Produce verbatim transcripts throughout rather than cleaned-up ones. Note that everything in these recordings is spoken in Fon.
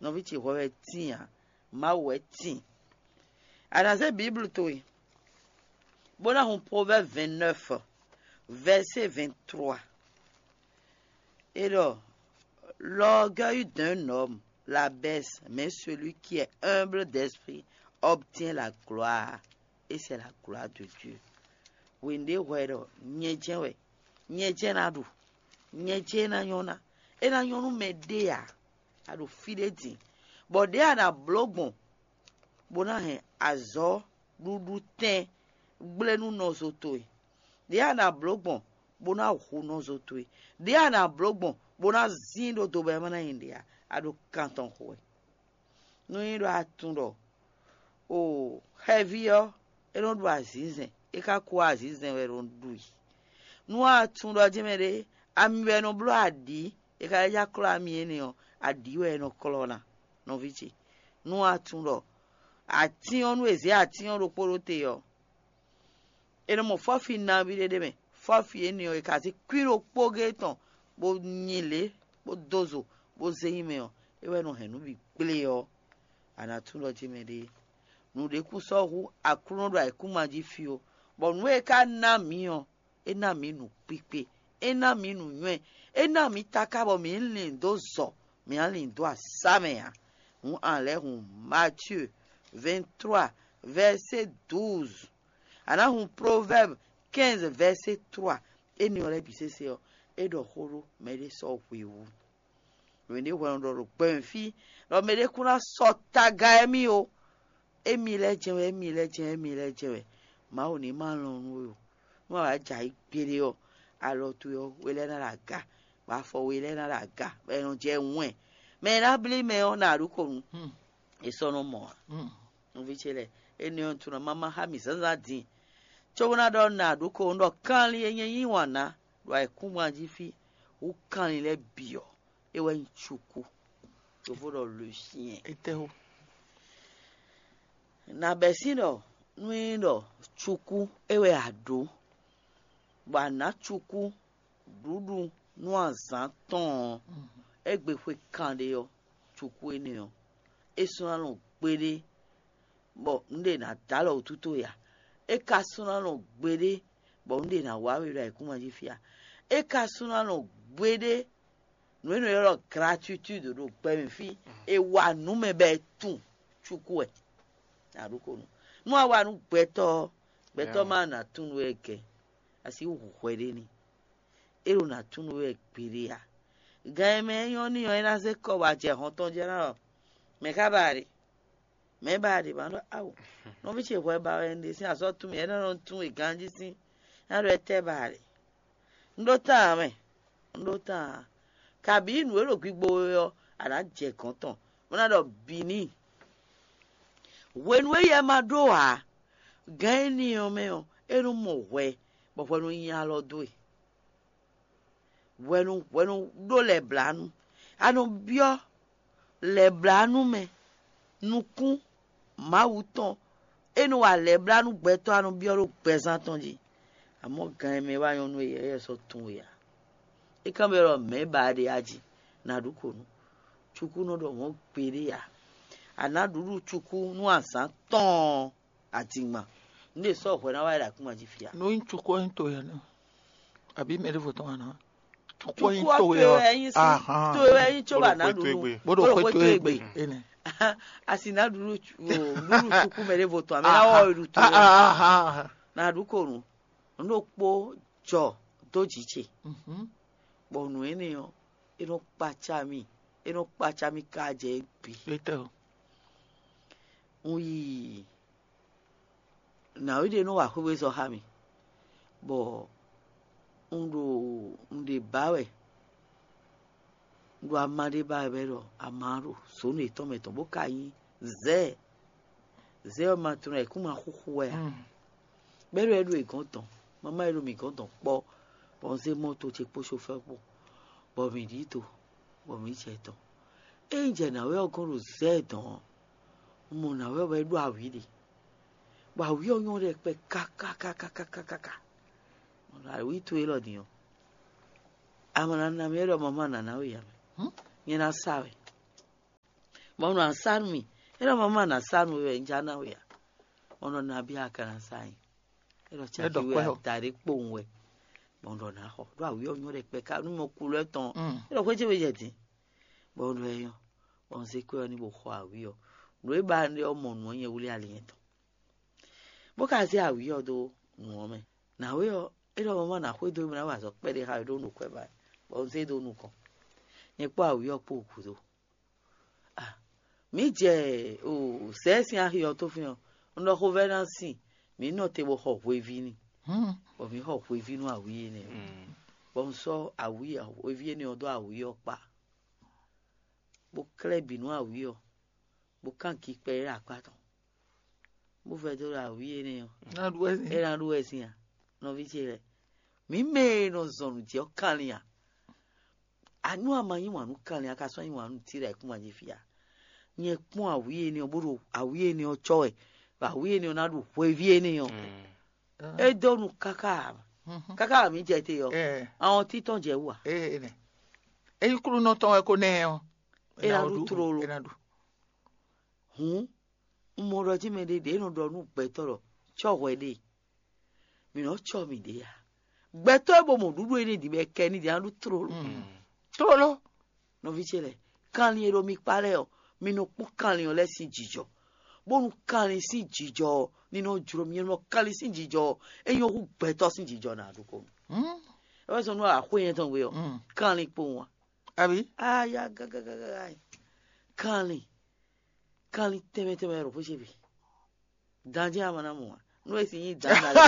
Nɔví ce hwɛ wɛ tíin ǎ, Mawu wɛ tíin. A nǎ zé Biblu towe, bó ná hun Proverbes vingt-neuf, verset vingt-trois. Et alors, l'orgueil d'un homme l'abaisse, mais celui qui est humble d'esprit obtient la gloire, et c'est la gloire de Dieu. Wěnde hwɛ ɖɔ nyɛ jɛ́n wɛ, nyɛ jɛ́n ná ɖu, nyɛ jɛ́n ná nyɔ́ ná. É ná nyɔ́ nú mɛ ɖé ǎ. A ɖo fí ɖé din, bɔ ɖěe a nǎ bló gbɔn bó ná hɛn azɔ̌ ɖuɖu tɛn gblé nú nɔzo towe. Ɖěe a nǎ bló gbɔn bó ná hu nɔzo towe. Ɖěe a nǎ bló gbɔn bó ná zín ɖó do bɔ é ma ná nyi ɖě ǎ. A ɖo kan tɔn xo wɛ. Nú nyí ɖɔ a tunwun ɖɔ o xɛví ɔ́, é nɔ ɖu azǐnzɛn, é ka kú azǐnzɛn wɛ é nɔ ɖu i. Nú a tunwun ɖɔ jɛ́n mɛ ɖé, ami wɛ é nɔ bló aɖǐ, é ka lɛ́ já klɔ́ ami énɛ́ ɔ́, aɖǐ wɛ é nɔ klɔ́ ná, nɔví ce. Nú a tunwun ɖɔ atín ɔ́, nú è zě atín ɔ́ ɖokpó ɖó te ɔ́, è nɔ mɔ fɔ́fi nabí ɖé ɖ'é mɛ. Fɔ́fi énɛ́ ɔ́, è ka zé kwín ɖokpó géé tɔn, bó nyi lě, bó dó zo, bó zé nyi mɛ ɔ́, é wɛ nɔ hɛn nǔ bǐ kplé ɔ́, a nǎ tunwun ɖɔ jɛ́n mɛ ɖé. Nǔɖé kún sɔ́ hú Aklúnɔ ɖo ayǐkúngban jí fí ó, bɔ nǔ e é ka ná mǐ ɔ́, é ná mǐ nǔkpíkpé, é ná mǐ nǔnywɛ́, é ná mǐ taká bɔ mǐ lin dó zɔ, mǐ ná lin dó asá mɛ ǎ. Hǔn a lɛ́ hun Matyuu vingt-trois, vɛ̌sé douze. A nǎ hun Proverbes quinze, vɛ̌sé trois. Énɛ́ ɔ́ lɛ́ɛ bǐ sésé ɔ́, é ɖɔ xó ɖó mɛɖé sɔ́ hwewú. Mɛɖé hwɛ un ɖɔ ɖo gbɛmɛ fí, ɖɔ mɛɖé kún ná sɔ́ taga émí ó. Émí lɛ́ɛ jɛ́n wɛ, émí lɛ́ɛ jɛ́n, émí lɛ́ɛ jɛ́n wɛ. Mawu ní ma lɔn nú we ó. Nú a wǎ jɛ ayǐ gbeɖé ɔ́, alɔ towe ɔ́, we lɛ́ɛ ná ɖo aga, bɔ afɔ we lɛ́ɛ ná ɖo aga, bɔ è nɔ jɛ wɛn. Mɛ e ná blí mɛ ɔ́, nǎ ɖu kɔ nu. È sɔ́ nɔ mɔ ǎ. Nɔví ce lɛ́ɛ, énɛ́ ɔ́, un tunɔ mama xá mì zǎnzǎn din, cóbó ná ɖɔ nǎ ɖu kɔ nu ɖɔ kanlin e nyɛ yí wǎn ná ɖo ayǐkúngban jí fí hú kanlin lɛ́ɛ bǐ ɔ́, é wɛ nyí cukú. Yovó ɖɔ le chien. Etɛ́wú? Nǎ bɛ́ sín ɖɔ nú é nyí ɖɔ cukú é wɛ a ɖǒ, bɔ a nǎ cukú ɖuɖu nú azǎn tɔn ɔ́, égbé xwe kanɖé ɔ́, cukú énɛ́ ɔ́, é sɔ́ ná lɔn gbeɖé, bɔ nǔɖé ná dó alɔ wǔtu towe ǎ. É ka sɔ́ ná lɔn gbeɖé, bɔ nǔɖé ná wá we ɖo ayǐkúngban jí fí ǎ. É ka sɔ́ ná lɔn gbeɖé, nǔ e nɔ ylɔ́ gratitude ɖo gbɛmɛ fí, è wa nǔ mɛ bɔ è tunwun cukú wɛ. Nǎ ɖu kɔ nu. Nú a wa nú gbɛtɔ́ ɔ́, gbɛtɔ́ ma ná tunwun we gɛ̌, a sixú hu hwɛ ɖé n'i. É ɖo ná tunwun we gbeɖé ǎ. Gan e mɛ e nyɔ́ n'i ɔ́, é ná zé kɔ bɔ a jɛ hɔn tɔn jɛ ná ɔ́, mɛ̌ ka ba a ɖe? Mɛ̌ ba a ɖe? Ma ɖɔ awo, nɔví ce hwɛ ba wɛ un ɖe sín azɔ̌ tún mì, é nɔ nɔ tunwun e ganjí sín, ná ɖɔ étɛ́ ba a ɖe? Un ɖó tán ǎ mɛ, un ɖó tán ǎ. Kabǐ nǔ e ɖo gbigbo we ɔ́, a nǎ jɛ gɔ̌n tɔn, bó ná ɖɔ bǐ n'i. Hwenu e yɛ ma ɖó ǎ, gǎn énɛ́ ɔ́ mɛ ɔ́, é nɔ mɔ hwɛ, bɔ hwɛ nɔ nyi alɔ dó e. Hwɛ nɔ hwɛ nɔ ɖó lɛ̌blánú. A nɔ byɔ́ lɛ̌blánú mɛ nukún Mawu tɔn. É nɔ wa lɛ̌blánú gbɛtɔ́, a nɔ byɔ́ ɖó gbɛzán tɔn jí. Amɔ̌ gan e mɛ wá nyɔ́ nú we ɔ́, é sɔ́ tunwun we ǎ. É kan byɔ́ ɖɔ mɛ̌ ba a ɖe a jí, nǎ ɖu kɔ nú. Cukú nɔ ɖɔ mɔ̌ gbeɖé ǎ. A nǎ ɖuɖu cukú nú azǎn tɔn ɔ́, adingban. Nǔ ɖě sɔ́ hwɛ ná wá yi ɖo akúngban jí fí a? Nú nyí cukú ɔ́ nyí to yɛ nɔ, abǐ mɛ ɖěvo tɔn wá ná. Cukú ɔ́ nyí Cukú ɔ́ to towe wɛ ɔ́, nyí, ahan. Towe wɛ nyí cóbɔ a nǎ ɖu nú. Bó ɖo xwé towe gbe. Énɛ́. A si ná ɖu nú cu- o, ɖu nú cukú mɛ ɖěvo tɔn, a mɛ ná wɔ yi ɖu towe. Ahan. Ná ɖu ko nǔ. Nǔ ɖokpó jɔ dó jǐ ce, Mhm. Bɔ nǔ énɛ́ ɔ́, é nɔ kpacá mì, é nɔ kpacá mì ká jɛ égbé. Étɛ́ o. Un yi nǎwe ɖé nɔ wa xwéwezɔ́ xá mì, bɔ un ɖo un ɖe ba wɛ, un ɖo ama ɖé ba wɛ bɔ é ɖɔ ama ɔ́ ɖo zǒnu yětɔn mɛ tɔn, bó ka nyí zɛ̌. Zɛ̌ ɔ́ ma tunwun ayǐkúngban xúxú wɛ ǎ. Bɔ é ɖo é ɖo è gɔ̌n dɔn, mamá e ɖo mǐ gɔ̌n dɔn kpɔ́, bɔ un zé mɔto ce kpó sofɛ́ kpó, bɔ mǐ ɖi do, bɔ mǐ jɛ dɔn. Ée un jɛ nǎwe ɔ́ gɔ́n ɖo zɛ̌ dɔn ɔ́, un mɔ nǎwe ɔ́ bɔ é ɖó awǐ ɖe, bɔ awǐ ɔ́ nyɔ́ ɖɛkpɛ kákákákákákáká. Awǐ towe élɔ́ din ɔ́, a ma ná ná mì é ɖɔ mamá nǎ ná we ǎ mɛ. Nyɛ ná sa wɛ. Bɔ un ɖɔ a nǎ sa nú mì. É ɖɔ mama, a nǎ sa nú we wɛ un já ná we ǎ. Bɔ un ɖɔ nabí a ka ná sa nyi? É ɖɔ caki we adaɖé kpowun wɛ. Bɔ un ɖɔ nǎ xɔ ɖó awǐ ɔ́ nyɔ́ ɖɛkpɛ ká nú mɔ kulú tɔn. É ɖɔ xwé ce we jɛ din. Bɔ un ɖɔ ɛ nyɔ́. Bɔ un zé kwɛ́ ɔ́ ní bo xɔ awǐ ɔ́. Nǔ e ba ɖe ɔ́ mɔ nǔ ɔ́ nyɛ wlí ali nyɛtɔn. Bó ka zé awǐ ɔ́ dó nǔ ɔ́ mɛ. Nǎwe ɔ́, é ɖɔ mama ná xwedó mì ná wa azɔ̌ kpɛɖé xá we ɖó nǔ kwɛ́ ba, bɔ un zé dó nukɔn. Nyɛ kpó awǐ ɔ́ kpó gǔdo. Ah, mǐ jɛ o sɛɛ sín axi ɔ́ tó fín ɔ́, un ɖɔ xovɛ́ ná sin, mǐ nɔ te bó xɔ hweví n'i, bɔ mǐ xɔ hweví nú awǐ énɛ́ ɔ́. Bɔ un sɔ́ awǐ hweví énɛ́ ɔ́ dó awǐ ɔ́ kpá, bó klɛ́ bǐ nú awǐ ɔ́, bó kán gikpɛ é ɖo akpá tɔn, bó vɛdó ɖo awǐ énɛ́ ɔ́. Ná ɖu wɛ sín. É ná ɖu wɛ sín a? Nɔví ce lɛ́ɛ, mǐ mɛ e nɔ zɔn nǔ jí ɔ́ kanlin a? Anú a ma yí wǎn nú kanlin a ka sɔ́ yí wǎn nú Tíra e kún wǎn jí fí a? Nyɛ kpɔ́n awǐ énɛ́ ɔ́, bó ɖo awǐ énɛ́ ɔ́ cɔ́ wɛ, bɔ awǐ énɛ́ ɔ́ ná ɖu hweví énɛ́ ɔ́. É dó nu káká káká mǐ jɛ te ɔ́, àwọn títɔn jɛ wú a? Ényí klúnɔ tɔn wɛ ko nɛ ɔ́, é ná ɖu tlolo. Hǔn un mɔ ɖɔ jí mɛɖé ɖě nɔ ɖɔ nú gbɛtɔ́ ɖɔ cɔ́ hwɛ ɖe, mǐ nɔ́ cɔ́ mǐɖée ǎ. Gbɛtɔ́ e bo mɔ nǔɖuɖu énɛ́ din bɔ è kɛ ní din ná ɖu tlóló. Tlóló. Nɔví ce lɛ́ɛ, kanlin e ɖo mi kpá lɛ́ɛ ɔ́, mi nɔ kpɔ́n kanlin ɔ́ lɛ́ɛ sín jǐjɔ, bónú kanlin sín jǐjɔ ɔ́ ní nɔ jló mi. Nɔ kanlin sín jǐjɔ ɔ́, é nyɔ́ hú gbɛtɔ́ sín jǐjɔ ná ɖokpónɔ. É wɛ zɔn nú axwé nyɛ tɔn gbe ɔ́, kanlin kpowun wá. Abǐ? Aya gagagaa. Kanlin, kanlin tɛnmɛ tɛnmɛ wɛ ɖo xwé ce bǐ. Ganjí ama ná mɔ ǎ. Nú e sin nyí dan na lɛ.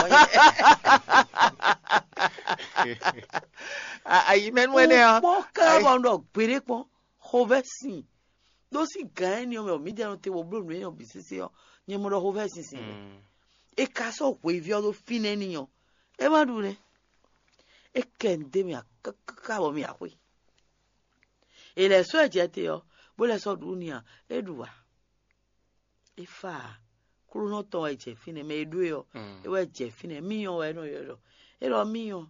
Ayimɛnu ɛnɛ ɔ́. Kpɔ́n ká bɔ un ɖɔ gbeɖé kpɔ́n. Xovɛ́ sin. Ɖó sín gǎn énɛ́ ɔ́ mɛ, mǐdɛɛ nɔ te bɔ bló nǔ énɛ́ ɔ́ bǐ sésé ɔ́, nyɛ mɔ ɖɔ xovɛ́ sin sin. È ka sɔ́ hweyví ɔ́ ɖó fínɛ́ n'i ɔ́, é má ɖu nɛ́. É kɛ nǔ dó mì káká bɔ mì axwé. È lɛ̌ sɔ́ ɛ jɛ te ɔ́, bó lɛ́ sɔ́ ɖu n'i a, é ɖu ǎ. É fá ǎ. Klúnɔ tɔn wɛ jɛ fínɛ́, mɛ e ɖó e ɔ́, é wɛ jɛ fínɛ́. Míyɔn wɛ é nɔ ylɔ́ ɖɔ. É ɖɔ míyɔn,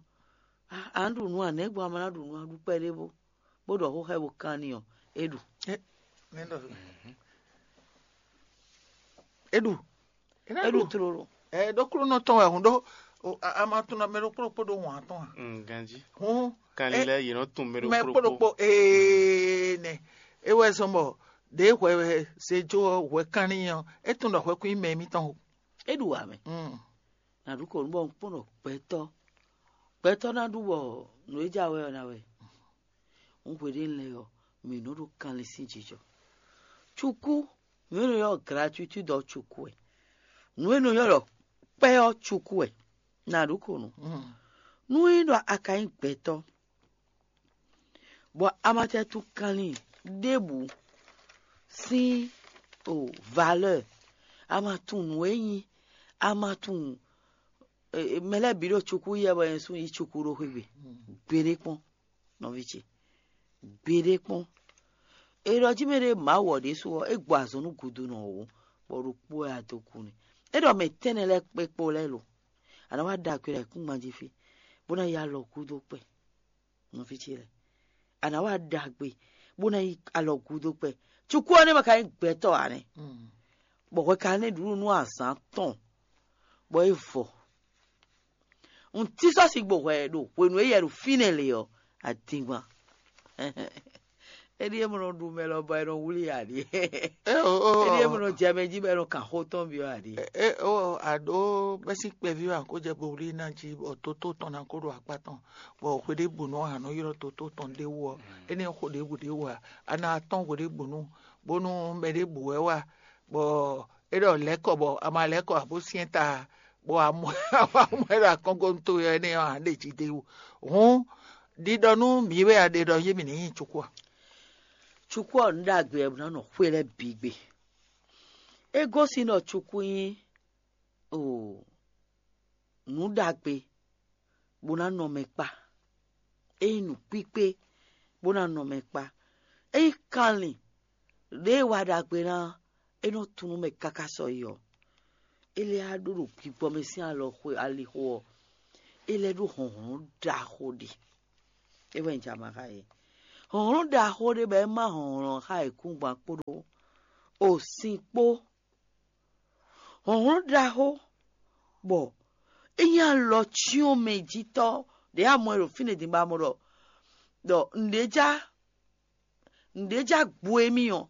a nǎ ɖu nǔ a nɛ̌ gbɔn a ma ná ɖu nǔ a ɖu kpɛɖé bó, bó ɖɔ xó xá ɛ bó kán n'i ɔ́, é ɖu. É ɖu. É ɖu tlóló. Ɛ ɖó klúnɔ tɔn wɛ hǔn ɖó. A ma tunɔ mɛ ɖokpó ɖokpó ɖó wǎn tɔn a? Ganjí. Hǔn. Kanlin lɛ́ɛ yě nɔ tunwun mɛ ɖokpó ɖokpó. Ee nɛ. É wɛ zɔn bɔ ɖěe hwɛ wɛ se jó ɔ́ hwɛ kanlin ɔ́, é tunwun ɖɔ hwɛ kún nyí mɛ émítɔn o. É ɖu wǎ mɛ. Nǎ ɖu kɔ nú bɔ un kpɔ́n ɖɔ gbɛtɔ́ gbɛtɔ́ ná ɖu bɔ nǔ e jɛ awɛ ɔ́ ná wɛ. Un hweɖénu lɛ́ɛ ɔ́, mǐ nɔ ɖo kanlin sín jijɔ. Cukú, nǔ e nɔ ylɔ́ gratuití ɔ́ cukú wɛ. Nǔ e nɔ ylɔ́ ɖɔ kpɛ́ ɔ́ cukú wɛ. Nǎ ɖu kɔ nú. Nú é ɖɔ a ka nyí gbɛtɔ́, bɔ a ma tɛ tunwun kanlin ɖěbǔ sín o valeur, a ma tunwun nǔ e nyí, a ma tunwun mɛ lɛ́ɛ bǐ ɖo cukú yɛ bɔ nyɛ sú yí cukú ɖó xwé gbe. Gbeɖé kpɔ́n, nɔví ce, gbeɖé kpɔ́n. È ɖɔ jí mɛ ɖé Mawu ɔ́ ɖésú ɔ́, é gbɔ azɔn nú gudunɔ wǒ, bɔ ɖokpó wɛ a dó kú n'i. É ɖɔ mɛ tɛ́nnɛ lɛ́ɛ kpé kpó lɛ́ɛ lo, a nǎ wá ɖagbe ɖo ayǐkúngban jí fí, bó ná yi alɔ gúdo kpɛ. Nɔví ce lɛ́ɛ, a nǎ wá ɖagbe, bó ná yi alɔ gúdo kpɛ. Cukú ɔ́ nɛ́ ma ka nyí gbɛtɔ́ ǎ nɛ́, bɔ hwɛ ka nɛ́ ɖuɖu nú azǎn tɔn, bɔ é vɔ. Un tí sɔ́ sigbo hwɛ ɖo hwenu e yɛ ɖo fínɛ́ lě ɔ́, adingban. Éɖíe mɔ nɔ ɖu mɛ lɔ bɔ è nɔ wlí ǎ ɖíe. Éɖíe mɔ nɔ jɛ mɛ jí bɔ è nɔ kan xó tɔn byɔ́ ǎ ɖíe. Aɖó bɛ́sín kpɛví wɛ a kó jɛ bo wlí ná jí bɔ tótó tɔn ná kó ɖo akpá tɔn, bɔ hweɖěbǔnu a nɔ ylɔ́ tótó tɔn ɖ'é wú ɔ́, énɛ́ xó ɖěbǔ ɖ'é wú ǎ. A ná tɔ́n hweɖěbǔnu, bónú mɛ ɖěbǔ wɛ wá, bɔ é ɖɔ lɛ̌ kɔ bɔ a ma lɛ̌ kɔ ǎ bó syɛ́n ta, bɔ a mɔ ɛ ɖo akɔ́ngbɔnúto énɛ́ ɔ́ ǎ ɖe jí d'é wú. Hǔn ɖiɖɔ nú mǐ wɛ a ɖe ɖɔ yé mì ní nyi cukú a? Cukú ɔ́ nǔ ɖagbe wɛ bó ná nɔ xwé lɛ́ɛ bǐ gbe. É gosín ɖɔ cukú nyí o nǔ ɖagbe bó ná nɔ mɛ kpá. É nyí nǔkpíkpé bó ná nɔ mɛ kpá. É nyí kanlin ɖěe wa ɖagbe ná é nɔ tunú mɛ káká sɔ yi ɔ́, é lɛ́ á ɖó ɖo gbigbɔ mɛ sín alɔxwe alixo ɔ́, é lɛ́ ɖó hlɔ̌nhlɔ́n ɖaxó ɖé. É wɛ un jɛ ama xá yě. Hlɔ̌nhlɔ́n ɖaxó ɖé bɔ é má hlɔ̌nhlɔ́n xá yěkúngban kpódó o sin kpó. Hlɔ̌nhlɔ́n ɖaxó bɔ é nyí alɔ cyɔ́n mɛ jí tɔ́ ɖě a mɔ ɛ ɖo fínɛ́ din bɔ a mɔ ɖɔ ɖɔ nǔɖé já nǔɖé já gbo émí ɔ́,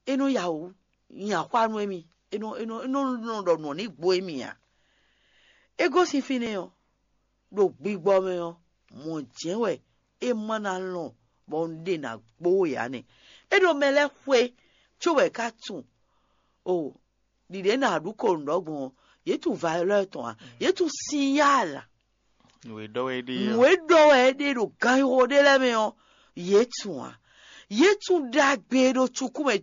é nɔ ya wǔ nyi axwá nú émí, é nɔ é nɔ é nɔ nɔ ɖɔ nǔ ɔ́ ní gbo émí ǎ. É gosín fínɛ́ ɔ́, ɖo gbigbɔ mɛ ɔ́, mɔ̌ jɛ́n wɛ é ma ná lɔn bɔ un ɖe nǎ gbo we ǎ nɛ́. É ɖo mɛ lɛ́ɛ xwe cóbɔ è ka tunwun o ɖiɖě nǎ ɖu ko nǔ ɖɔ gbɔn ɔ́, yě tunwun valeur tɔn ǎ, yě tunwun sinyal ǎ. Nǔ e ɖɔ wɛ é ɖe Nǔ ɔ́. e ɖɔ wɛ é ɖe ɖo ganxixo ɖé lɛ́ɛ mɛ ɔ́, yě tunwun ǎ. Yě tunwun ɖagbe e ɖo cukú mɛ, è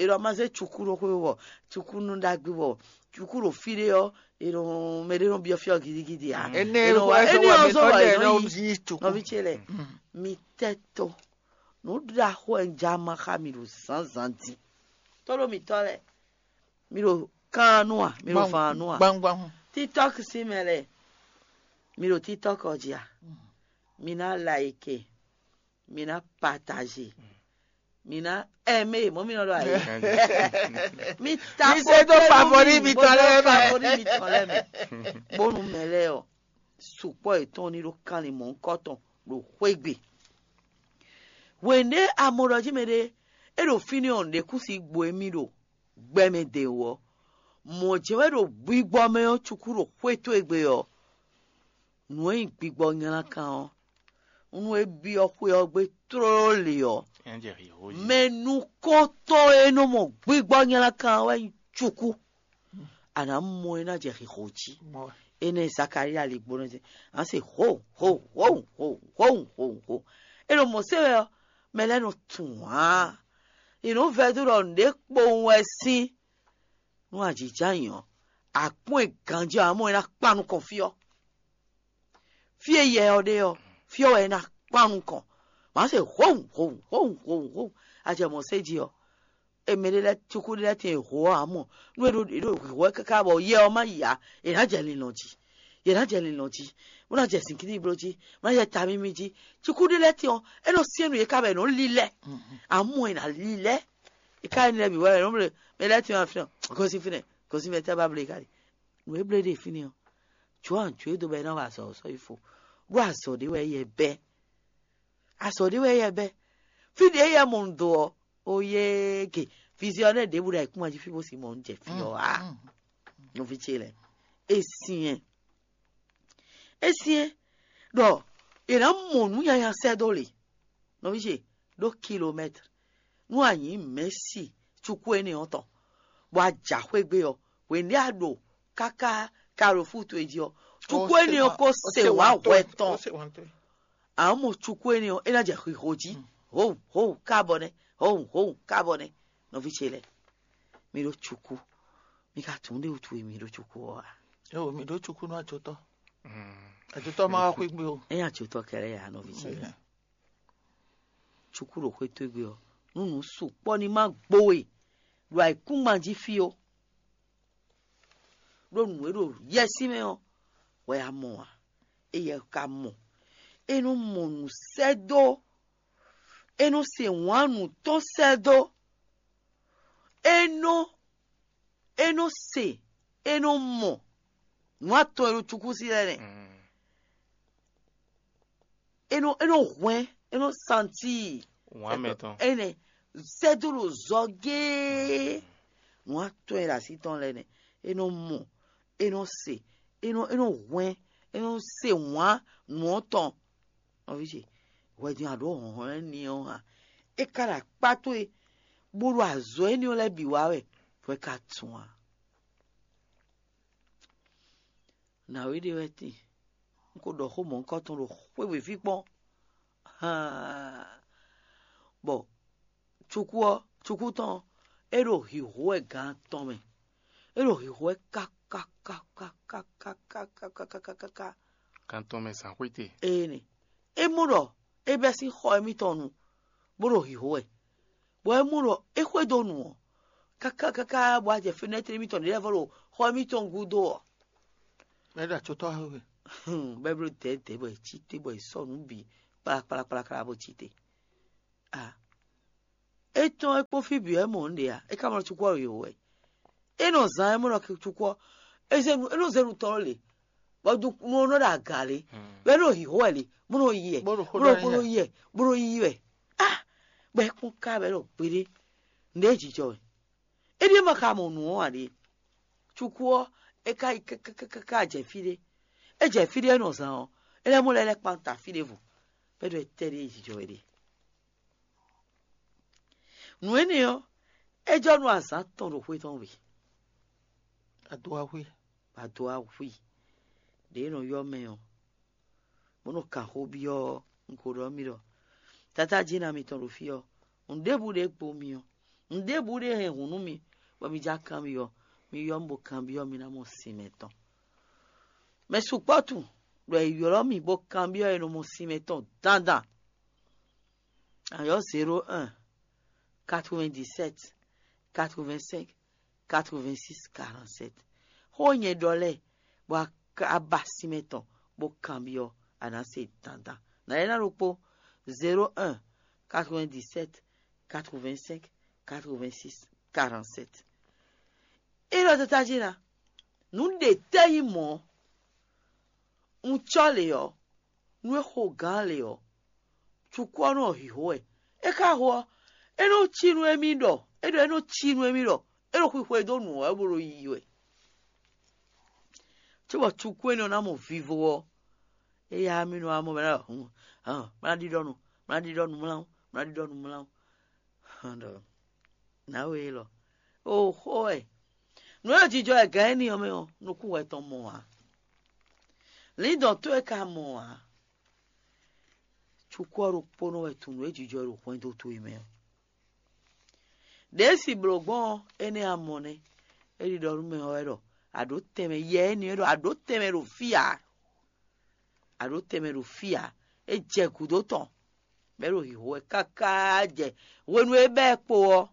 ɖɔ ma zé cukú ɖo xwé bɔ cukú nú ɖagbe bɔ cukú ɖo fí ɖé ɔ́, è nɔ mɛ ɖé nɔ byɔ́ fí ɔ́ gidigidi ǎ. Énɛ́ È nɔ wá- wɛ sɔ́ énɛ́ wá ɔ́ mi zɔ́ tɔ́ wá jɛ è ɛnɛ nɔ ɔ́ yí yí cukú. Nɔví ce lɛ, mi tɛ́ tó. Nǔ ɖaxó wɛ un já ma xá mi ɖo zǎnzǎn din. Tɔ́ ɖo mǐtɔn lɛ, mi ɖo kan nú a, mi ɖo fan nú a. Gbangban hun. TikTok sín mɛ lɛ, mi ɖo TikTok ɔ́ jí a? Mi ná like, mi ná partage, mi ná aimé, mɔ̌ mi nɔ ɖɔ ayé. Mi ta Mi se dó favori mi tɔn lɛ́ɛ mɛ. Favori mi tɔn lɛ́ɛ mɛ. Bónú mɛ lɛ́ɛ ɔ́, sukpɔ́ yětɔn ní ɖó kanlin mɔ̌hunkɔtɔn ɖo xwé gbe. Hwěndé a mɔ ɖɔ jí mɛɖé é ɖo fínɛ́ ɔ́, nǔɖé kún si gbo émí ɖo gbɛ mɛ dě wú ɔ́, mɔ̌ jɛ́n wɛ ɖo gbigbɔ mɛ ɔ́ cukú ɖo xwé towe gbe ɔ́, nǔ e nyí gbigbɔ nylá kan ɔ́, nú é byɔ́ xwé ɔ́ gbe tlóló lě ɔ́, É jɛ xixo jí. mɛ nukɔntɔn e nɔ mɔ gbigbɔ nylá kan ɔ́ wɛ nyí cukú. A nǎ mɔ é ná jɛ xixo jí. Mɔ wɛ. Énɛ́ Zakalía ligbo nɔ se, a se ho ho ho ho ho ho ho. É nɔ mɔ se wɛ ɔ́, mɛ lɛ́ɛ nɔ tunwun ǎ. È nɔ vɛdó ɖɔ nǔɖé kpowun wɛ sín nú ajǐjǎnyi ɔ́, akpɔ́n e ganjí ɔ́, a mɔ é ná kpan nukɔn fí ɔ́. Fí e yɛ ɔ́ ɖe ɔ́, fí ɔ́ wɛ é ná kpan nukɔn. Mǎ se howun howun howun howun howun. A jɛ mɔ̌ se jí ɔ́, e mɛ ɖé lɛ́ɛ cukú ɖé lɛ́ɛ tɛn e ho ɔ́ ǎ mɔ, nú é ɖo é ɖo hwǐhwɛ́ káká bɔ yɛ ɔ́ má yi ǎ, è nǎ jɛ linlɔn jí, è nǎ jɛ linlɔn jí, bó ná jɛ zǐngídi bló jí, bó ná jɛ tamímí jí. Cukú ɖé lɛ́ɛ tɛn ɔ́, é nɔ syɛ́n nú yě ká bɔ è nǒ lilɛ́, ǎ mɔ è nǎ lilɛ́. È ká énɛ́ lɛ́ɛ bǐ wɛ è nɔ bló mɛ lɛ́ɛ tɛn ɔ́ fínɛ́, gosín fínɛ́, gosín fínɛ́ tɛ́ bá bló é ká ɖi. Nǔ e bló é ɖe fínɛ́ ɔ́, jǒ anjǔ e dó bɔ é ná wa azɔ̌ ɔ́ sɔ́ yi fo, ɖó azɔ̌ ɖé wɛ é yɛ bɛ́. Azɔ̌ ɖé wɛ é yɛ bɛ́. Fí ɖě é yɛ mɔ un do ɔ́, ó yé ke viziɔnɛ́ ɖěbǔ ɖo ayǐkúngban jí fí bó si mɔ un jɛ fí ɔ́ ǎ. Nɔví ce lɛ́ɛ, é syɛ́n é syɛ́n ɖɔ è nǎ mɔ nǔ nyanya sɛ́ dó lě. Nɔví ce ɖó kilomɛ́tr nú a nyǐ mɛ̌si cukú énɛ́ ɔ́ tɔn, bɔ a jǎ xwé gbe ɔ́, hwěndé a ɖo káká kaɖofú towe jí ɔ́, cukú énɛ́ ɔ́ ko se wǎ hwɛ tɔn. A mɔ cukú énɛ́ ɔ́, é ná jɛ xixo jí. Hǒun hǒun kábɔ nɛ́, hǒun hǒun kábɔ nɛ́. Nɔví ce lɛ́ɛ, mi ɖó cukú, mi ka tunwun ɖé wútu e mi ɖó cukú ɔ́ ǎ. Eo, mi ɖó cukú nú ajotɔ. Ajotɔ ma wá xwé gbe o. É nyí ajotɔ kɛlɛ ya nɔví ce lɛ́ɛ. Cukú ɖo xwé towe gbe ɔ́, nú nǔ sukpɔ́ ní má gbo we ɖo ayǐkúngban jí fí ó. Ɖó nǔ e ɖo yɛsí mɛ ɔ́, wɛ a mɔ ǎ. Éyɛ́ ka mɔ. É nɔ mɔ nǔ sɛ́ dó. É nɔ se wǎn nǔ tɔn sɛ́ dó. É nɔ é nɔ se, é nɔ mɔ nǔ atɔn e ɖo cukúsi lɛ́ɛ nɛ́. É nɔ é nɔ hwɛ́n, é nɔ santíi. Wǎn mɛ tɔn. Énɛ́ sɛ́ dó ɖo zɔ géé. Nǔ atɔn e ɖo así tɔn lɛ́ɛ nɛ́. É nɔ mɔ, é nɔ se, é nɔ é nɔ hwɛ́n, é nɔ se wǎn nǔ ɔ́ tɔn. Nɔví ce, hwɛ din a ɖǒ hlɔ̌nhlɔ́n énɛ́ ɔ́ hǎn. É ka ɖo akpá towe, bó ɖo azɔ̌ énɛ́ ɔ́ lɛ́ɛ bǐ wa wɛ, hwɛ ka tun ǎ. Nǎwe ɖé wɛ tíin, un ko ɖɔ xó mɔ̌hunkɔtɔn ɖo xwé wěví kpɔ́n. Haan. Bɔ cukú ɔ́, cukú tɔn ɔ́, é ɖo hǐhó wɛ gan atɔn mɛ. É ɖo hǐhó wɛ kákákákákákákákákákáká. Kan tɔn mɛ zǎn xwé te. Ee nɛ. É mɔ ɖɔ é bɛ́ sín xɔ émítɔn nu, bó ɖo hǐhó wɛ. Bɔ é mɔ ɖɔ é xwedó nu ɔ́, kákákáká bɔ a jɛ fenɛ́tri émítɔn ɖě lɛ́ɛ vɔ ɖo xɔ émítɔn gúdo ɔ́. Mɛ ɖo atsotɔ xwe. Bɛ́ bló dɛ̌dɛ̌ bɔ è cí te bɔ è sɔ́ nǔ bǐ kplakplakplakpla bó cí te. A É tɔ́n é kpó fí bǐ wɛ mɔ nǔɖé ǎ, é ka mɔ cukú ɔ́ yǒ wɛ. É nɔ zán é mɔ ɖɔ cukú ɔ́, é zé nu é nɔ zé nu tɔn lě, bɔ nu ɔ́ nɔ ɖo aga lě, bɔ é nɔ hǐhó wɛ lě, bó nɔ yi wɛ, Bó ɖo xó bó ɖɔ nɔ bó nɔ yi wɛ. Yi wɛ, bó nɔ yi wɛ. Á, bɔ é kpɔ́n ká bɔ é ɖɔ gbeɖé, nǔɖé jijɔ wɛ. É ɖíe ma ka mɔ nǔ ɔ́ ǎ ɖe. Cukú ɔ́, é ka yi káká jɛ fí ɖé. É jɛ fí ɖé é nɔ zán ɔ́, é lɛ́ mɔ lɛ́ lɛ́ kpan ta fí ɖěvo, bɔ é ɖɔ étɛ́ ɖíe jijɔ wɛ ɖe. Nǔ énɛ́ ɔ́, é jɔ nú azǎn tɔn ɖo xwé tɔn wɛ. Adó axwí. Adó axwí ɖě e nɔ ylɔ́ mɛ ɔ́, bó nɔ kan xó byɔ́ ɔ́, un ko ɖɔ nú mi ɖɔ tatájínɔ mitɔn ɖo fí ɔ́, nǔɖébǔ ɖé gbo mi ɔ́, nǔɖébǔ ɖé hɛn hǔn nú mi, bɔ mi já kanbyɔ́, mi ylɔ́ mì bó kanbyɔ́ mi ná mɔ sin mɛtɔn. Mɛ sukpɔ́ tunwun ɖɔ è ylɔ́ mì bó kanbyɔ́ è nɔ mɔ sin mɛtɔn dandan. Ayɔ́ zéro un, quatre-vingt-dix-sept, quatre-vingt-cinq, quatre-vingt-six, quarante-sept. Xó nyɛ ɖɔ lɛ́ɛ, bɔ a ba sinmɛ tɔn bó kanbyɔ́, a nǎ se dandan. Nǎ é ná ɖokpó: zéro un, quatre-vingt-dix-sept, quatre-vingt-cinq, quatre-vingt-six, quarante-sept. É ɖɔ tatájí ná, nǔ ɖě tɛ́ nyí mɔ̌, un cɔ́ lě ɔ́, nú é xo gǎn lě ɔ́, cukú ɔ́ nɔ hǐhó wɛ. É ka ho ɔ́, é nɔ cí nú émí ɖɔ é ɖɔ é nɔ cí nú émí ɖɔ é ɖo xwixwe dó nǔ ɔ́ wɛ bó ɖo yiyi wɛ. Cóbɔ cukú énɛ́ ɔ́ ná mɔ vivo ɔ́, éyá mì nɔ wá mɔ mɛ ɖɔ hǔn, hǎn, má ná ɖiɖɔ nu, má ná ɖiɖɔ nu mlá, má ná ɖiɖɔ nu mlá. Hǎn ɖɔ nǎwe élɔ́, o xó wɛ. Nǔ e jijɔ wɛ gǎn énɛ́ ɔ́ mɛ ɔ́, nukún wɛ tɔn mɔ ǎ. Lǐndɔ̌n towe ka mɔ ǎ. Cukú ɔ́ ɖokpónɔ wɛ tunwun nǔ e jijɔ ɖo hwɛndo towe mɛ ɔ́. Ɖěe si blǒ gbɔn ɔ́, énɛ́ a mɔ nɛ́. É ɖiɖɔ nú mɛ ɔ́ wɛ ɖɔ: "Aɖǒ tɛnmɛ, yɛ énɛ́ wɛ ɖɔ: 'Aɖǒ tɛnmɛ ɖo fí ǎ. Aɖǒ tɛnmɛ ɖo fí ǎ.'" É jɛ gǔdo tɔn, bɔ é ɖo hǐhó wɛ káká jɛ hwenu e é bɛ́ ɛ kpo ɔ́.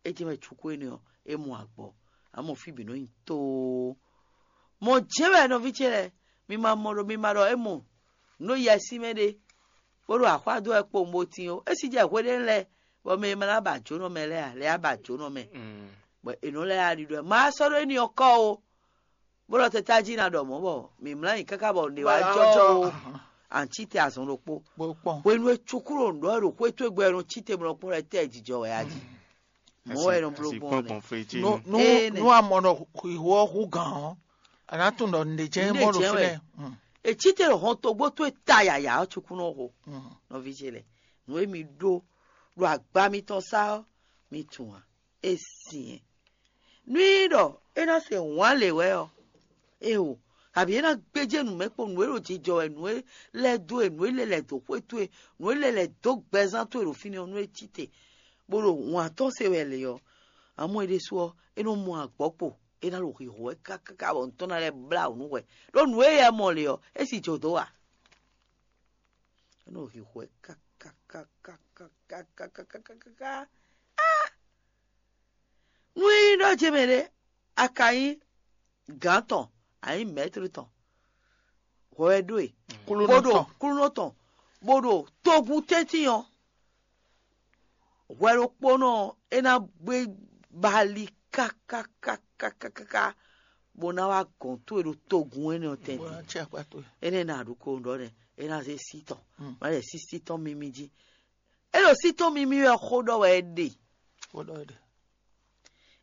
É jɛ mɛ cukú énɛ́ ɔ́, é mɔ agbɔ, amɔ fí bǐ nɔ nyi tóó. Mɔ̌ jɛ́n wɛ nɔví ce lɛ́ɛ, mi ma mɔ ɖɔ mi ma ɖɔ é mɔ nǔ ɖo yɛ sín mɛ ɖé, bó ɖo axwá dó wɛ kpowun bó tín ó. É sixú jɛ hwe ɖé lɛ́ɛ, bɔ mɛ e ma ná ba jǒnɔ mɛ lɛ́ɛ ǎ, lɛ́ɛ á ba jǒnɔ mɛ, bɔ è nɔ lɛ́ yá ɖiɖɔ ɛ. Ma sɔ́ ɖó énɛ́ ɔ́ kɔ́ ó, bó ɖɔ tɛ́ tají ná ɖɔ mɔ̌ bɔ mǐ mlá nyi káká bɔ nǔɖé wá jɔ ó. Ancí te azɔn ɖokpó. Hwenu e cukúɖo nǔ ɖɔ ɖo xwé towe gbɔ ɛ nɔ cí te mlɔ kpɔ́n lɛ́ɛ tɛ jijɔ wɛ a jí. Mɔ̌ wɛ è nɔ bló gbɔn nɛ́. Nú nú Énɛ́. Nú a mɔ ɖɔ xwixo ɔ́ hú gǎn ɔ́, a nǎ tunwun ɖɔ nǔɖé jɛ́n Nǔɖé mɔ ɖo jɛ́n wɛ. Fínɛ́. Mm. È cí te ɖo hɔn togbó towe ta yǎyá ɔ́ cukúnɔ xo. Mm. Nɔví ce lɛ́ɛ, nǔ e mi ɖó ɖo agba mitɔn sá ɔ́, mi tunwun ǎ. É syɛ́n. Nú nyí ɖɔ é ná se wǎn lě wɛ ɔ́, éeǒ, kabǐ é ná gbéjé nǔ mɛ kpó nǔ e ɖo jijɔ wɛ, nǔ e lɛ́ dó e, nǔ e lɛ́ lɛ̌ dó xwé towe, nǔ e lɛ́ lɛ̌ dó gbɛzán towe ɖo fínɛ́ ɔ́, nú é cí te, bó ɖo wǎn tɔn se wɛ lě ɔ́, amɔ́ é ɖésú ɔ́, é nɔ mɔ agbɔ̌ kpo, é ná ɖo hǐhó wɛ káká bɔ nǔ tɔn ná lɛ́ blá wǔ nú hwɛ. Ɖó nǔ e yɛ mɔ lě ɔ́, é sì jǒ dó a? É nɔ hǐhó wɛ kákákákákákákáká. Nú nyí ɖɔ ce mɛ ɖé, a ka nyí gǎn tɔn, a nyí mɛ̌tri tɔn, hwɛ wɛ ɖó e, Kúlúnɔ bó ɖo tɔn. Kúlúnɔ tɔn, bó ɖo togun tɛ́ntin ɔ́, hwɛ ɖokpónɔ ɔ́, é ná gbé bali kákákákákáká, bó ná wá gɔ̌n towe ɖo togun énɛ́ ɔ́ tɛ́ntin. Bó ná cí akpá towe. Énɛ́ ná ɖu ko ɖɔ nɛ́, é ná zé sí tɔn, Mm. má lɛ sí sí tɔn mímí jí. É ɖo sí tɔn mímí wɛ xó ɖɔ wɛ é ɖe. Xó ɖɔ é ɖe.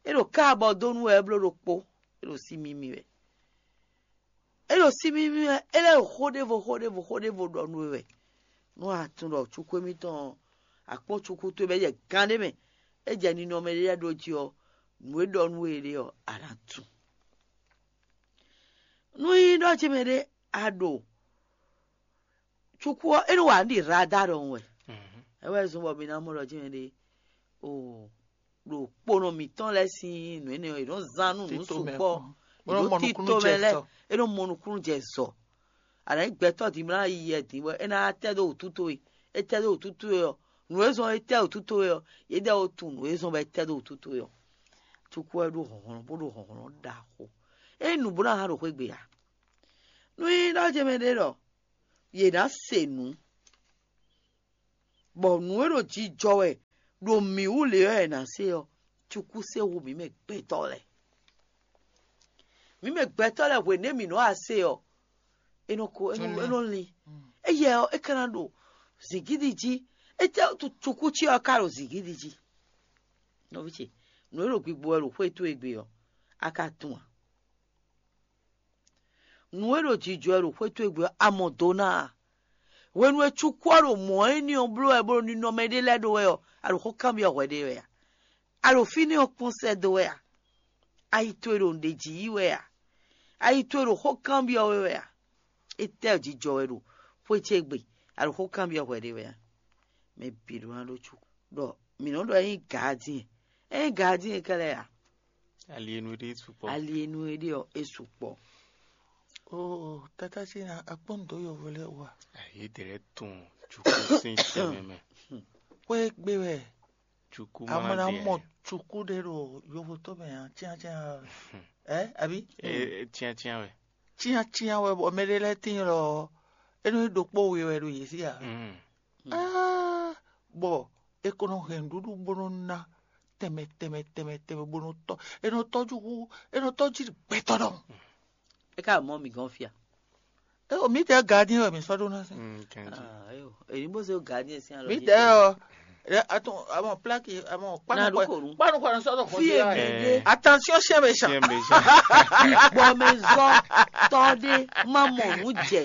É ɖo ká abɔ dó nú wɛ é bló ɖokpó. É ɖo sí mímí wɛ. É ɖo sí mímí wɛ, é lɛ́ ɖo xó ɖěvo, xó ɖěvo, xó ɖěvo ɖɔ nú we wɛ. Nú a tunwun ɖɔ cukú émítɔn ɔ́, a kpɔ́n cukú towe bɔ é jɛ gán ɖé mɛ, é jɛ ninɔmɛ ɖé lɛ́ɛ ɖó jí ɔ́, nǔ e ɖɔ nú we é ɖe ɔ́, a nǎ tunwun. Nú nyí ɖɔ ce mɛ ɖé a ɖo cukú ɔ́, é nɔ wa nǔ ɖi radar ɖɔhun wɛ. É wɛ zɔ́n bɔ mi ná mɔ ɖɔ jɛ́n ɖe o ɖo kponɔ mǐtɔn lɛ́ɛ sín nǔ énɛ́ ɔ́, è nɔ zán nú nǔ Tito mɛ sukpɔ́. Kpɔ́n. Bó nɔ Ɖó mɔ tito nukúnnú mɛ jɛ lɛ́ɛ, zɔ. É nɔ mɔ nukúnnú jɛ zɔ. A nǎ nyí gbɛtɔ́ din bó ná yi yɛ din bɔ é ná tɛ́ dó wǔtu towe. É tɛ́ dó wǔtu towe ɔ́, nǔ e zɔ́n é tɛ́ wǔtu towe ɔ́, yědɛɛ ó tunwun nǔ e zɔ́n bɔ é tɛ́ dó wǔtu towe ɔ́. Cukú wɛ ɖó hlɔ̌nhlɔ́n bó ɖo hlɔ̌nhlɔ́n ɖaxó. É nyí nǔ bó ná hán ɖo xwé gbe ǎ. Nú nyí ɖɔ jɛ mɛ ɖé ɖɔ yě ná se nǔ. Bɔ nǔ e ɖo jijɔ wɛ ɖo mǐ wú lě ɔ́ è nǎ se ɔ́, cukú se hu mǐ mɛ gbɛtɔ́ lɛ́ɛ. Mǐ mɛ gbɛtɔ́ lɛ́ɛ hwěnɛ́ mǐ nɔ wá se ɔ́, é nɔ ko é nɔ é nɔ lin. Éyɛ ɔ́, é ka ná ɖo zǐngídi jí. Étɛ́ cukú ce ɔ́ ka ɖo zǐngídi jí? Nɔví ce, nǔ e ɖo gbigbo wɛ ɖo xwé towe gbe ɔ́, a ka tunwun a? Nǔ e ɖo jijɔ wɛ ɖo xwé towe gbe ɔ́, a mɔ do ná a? Hwenu e cukú ɔ́ ɖo mɔ̌ énɛ́ ɔ́ bló wɛ bó ɖo ninɔmɛ ɖé lɛ́ɛ ɖó wɛ ɔ́, a ɖo xó kanbyɔ́ hwɛ ɖé wɛ a? A ɖo fínɛ́ ɔ́ kpɔ́n sɛ́ dó wɛ a? Ayi towe ɖo nǔɖé jí yí wɛ a? Ayi towe ɖo xó kanbyɔ́ we wɛ a? Étɛ́ jijɔ wɛ ɖo xwé ce gbe, a ɖo xó kanbyɔ́ hwɛ ɖé wɛ a? Mɛ bǐ ɖó ná ɖó cukú. Ɖɔ mǐ nɔ ɖɔ é nyí gaadíɛn. É nyí gaadíɛn kɛ́lɛ́ a? Ali e nu e ɖe sukpɔ́. Ali e nu e ɖe ɔ́, é sukpɔ́. Oo, tata ce nya akpɔ́n dǒ yɔvo lɛ́ɛ wú a? Yědɛɛ lɛ́ɛ tunwun cukú sín tɛnmɛ mɛ. Xwé gbe wɛ. Cukú a ma mɔ ná ɖe mɔ cukú ɖé ɖo yovotɔ́ mɛ ǎ, cyácyá ɛ, abi? Cyácyá wɛ. Cyácyá wɛ bɔ mɛ ɖé lɛ́ɛ tíin lɔ ɔ́, é nɔ nyí ɖokpó we wɛ ɖo yě sí ǎ. Mm. Aa, bɔ è ko nɔ hɛn nǔɖuɖu bó nɔ ná tɛnmɛ tɛnmɛ tɛnmɛ tɛnmɛ bó nɔ tɔ́, è nɔ tɔ́jú hú, è nɔ tɔ́jú gbɛtɔ́ ɖɔhun. É ka mɔ mǐ gɔ́n fia. É o mǐdɛɛ gardien wɛ mǐ sɔ́ ɖó ná sɛn. Mm, kanjí. Ah, ayo, èyí bó ṣe gardien sín alɔ. Mǐdɛɛ ɔ, ɛ, atún, àwọn plaki, àwọn Ná kpanu dúkòrú. Kpanu kpanu sɔ́ dɔ Fí èmi dé. Attention chien méchant. Tiens, méchant. Bɔ mɛ zɔ tɔ ɖé má mɔ nǔ jɛ.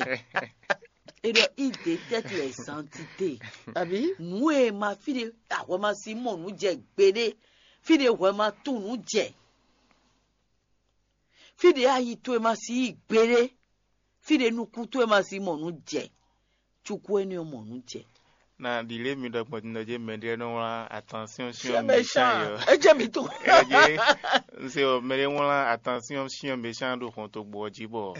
Eɖɔ ide tɛ́ tu ɛzantite. Àbí? Nǔ e ma fí ɖe ahwɛ ma sí mɔ nǔ jɛ gbeɖé. Fí ɖe hwɛ ma tunwun nǔ jɛ. Fí ɖě ayi towe ma si yí gbeɖé, fí ɖě nukún towe ma si mɔ nǔ jɛ, cukú énɛ́ ɔ́ mɔ nǔ jɛ. Na ɖi lě mi ɖɔ gbɔn din ɖɔ jɛ mɛ ɖé nɔ wlán attention Chien chien méchant. Méchant yɔ. É jẹ́ mi tó. Ɛ jẹ́, n se ɔ mɛ ɖé wlán attention chien méchant ɖo xɔntogbo ɔ́ jí bɔ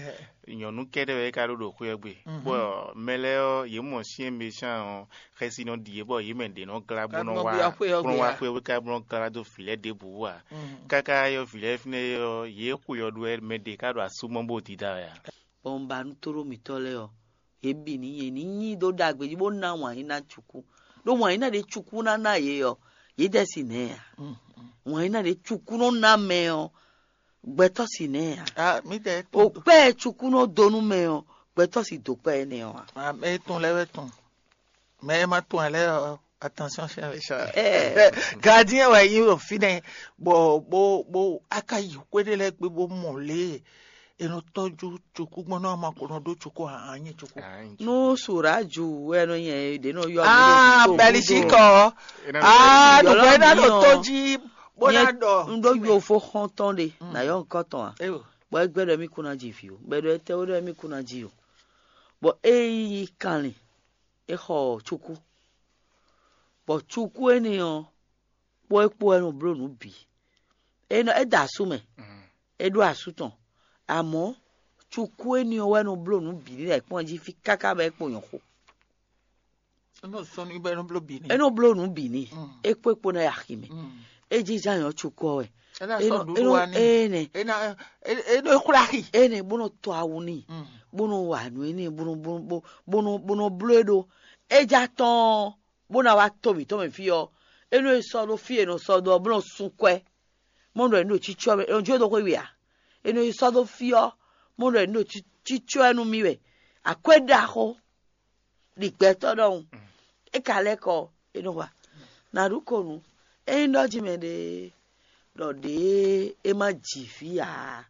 nyɔ̌nu kɛ́ɖɛ́ wɛ é ka ɖó ɖo xwé ɔ́ gbe. Bɔ mɛ lɛ́ɛ ɔ́, yě mɔ chien méchant ɔ́, xɛsi nɔ ɖi yě bɔ yě mɛ ɖě nɔ glá bó nɔ wá bó nɔ wá xwé ɔ́ bó nɔ wá xwé ɔ́ ká bó nɔ glá dó vǐ lɛ́ɛ ɖěbǔ wú ǎ. Káká yɔ vǐ lɛ́ɛ fínɛ́ ɔ́, yě xwe ɔ́ ɖó wɛ mɛ ɖě ká ɖo asú mɔ bó dida wɛ ǎ. Bɔ un ba nú tóɖó mǐtɔn lɛ́ɛ ɔ́, yě bǐ ní yě ní nyi ɖó ɖagbe jí bó ná wǎn yí ná cukú, ɖó wǎn yí ná ɖě cukú ná ná yě ɔ́, yě dɛ si nɛ̌ ǎ. Wǎn yí ná ɖě cukú nɔ ná mɛ ɔ́, gbɛtɔ́ si nɛ̌ ǎ. Ah, mi tɛ O kpɛ́ cukú nɔ dó nú mɛ ɔ́, gbɛtɔ́ si dó kpɛ́ énɛ́ ɔ́ ǎ. Ah, mɛ e tɔn lɛ́ɛ wɛ tɔn. Mɛ e ma tɔn ɛ lɛ́ɛ ɔ́, attention chien méchant. Gardien wɛ yí ɖo fínɛ́, bɔ bó bó a ka yi xwé ɖé lɛ́ɛ gbe bó mɔ lě e è nɔ tɔ́jú cukú gbɔn nɔ ma ko nɔ ɖó cukú a a nyí cukú. Nú Suraju wɛ nɔ nyɛ ɖě nɔ yɔ mì ɖo Ah, Togo Belgique dó. Ɔ. Ah, Yɔlɔ nùgbẹ́ ná mi ɖo ɔ. Tó jí bó ná Nyɛ ɖɔ. N ɖó yofó xɔ́ntɔn ɖe, nà yɔ nukɔn tɔn a? Eyo. Bɔ é gbɛ́ ɖɔ mì kún ná ji vǐ o. Bɔ é ɖɔ étɛ́ ó ɖɔ mì kún ná ji o. Bɔ é yi kanlin, é xɔ cukú. Bɔ cukú énɛ́ ɔ́, kpó é kpó wɛ nɔ bló nǔ bǐ. É nɔ é da asú mɛ, é ɖó asú tɔn. Amɔ̌ cukú énɛ́ ɔ́ wɛ nɔ bló nǔ bǐ ní lɛ̌ kpɔ́n jí fí káká bɔ é kpo nyɔ̌ xo. É nɔ sɔ́ nú bɔ é nɔ bló bǐ ní. É nɔ bló nǔ bǐ ní. É kpó é kpó ná yi axi mɛ. É jínjɔ́n ayɔ́ cukú ɔ́ wɛ. É ná É sɔ́ nɔ- nǔɖuɖu é nɔ- wá ní. Énɛ́. É ná é é nɔ é xwlá axi. Énɛ́ bó nɔ tɔ awu n'i, bó nɔ wa nǔ énɛ́ bó nɔ bó nɔ bó bó nɔ bó nɔ bló é ɖó. É já tɔ́n bó ná wá to mǐtɔn mɛ fí ɔ́, é nɔ e sɔ́ ɖó fí e è nɔ sɔ́ dó ɔ́ bó nɔ sun kwɛ́. Mɔ ɖɔ è nɔ ɖo cícɔ́ mɛ è nɔ jó dó xwé we ǎ. È nɔ e sɔ́ dó fí ɔ́, mɔ ɖɔ è nɔ ɖo cí- cícɔ́ ɛ nú mì wɛ. Akwɛ́ ɖaxó ɖi gbɛtɔ́ ɖɔhun. É ka lɛ́ kɔ é nɔ wa. Nǎ ɖu ko nǔ. Ényí ɖɔ jí mɛ ɖe ɖɔ ɖě é má ji fí ǎ,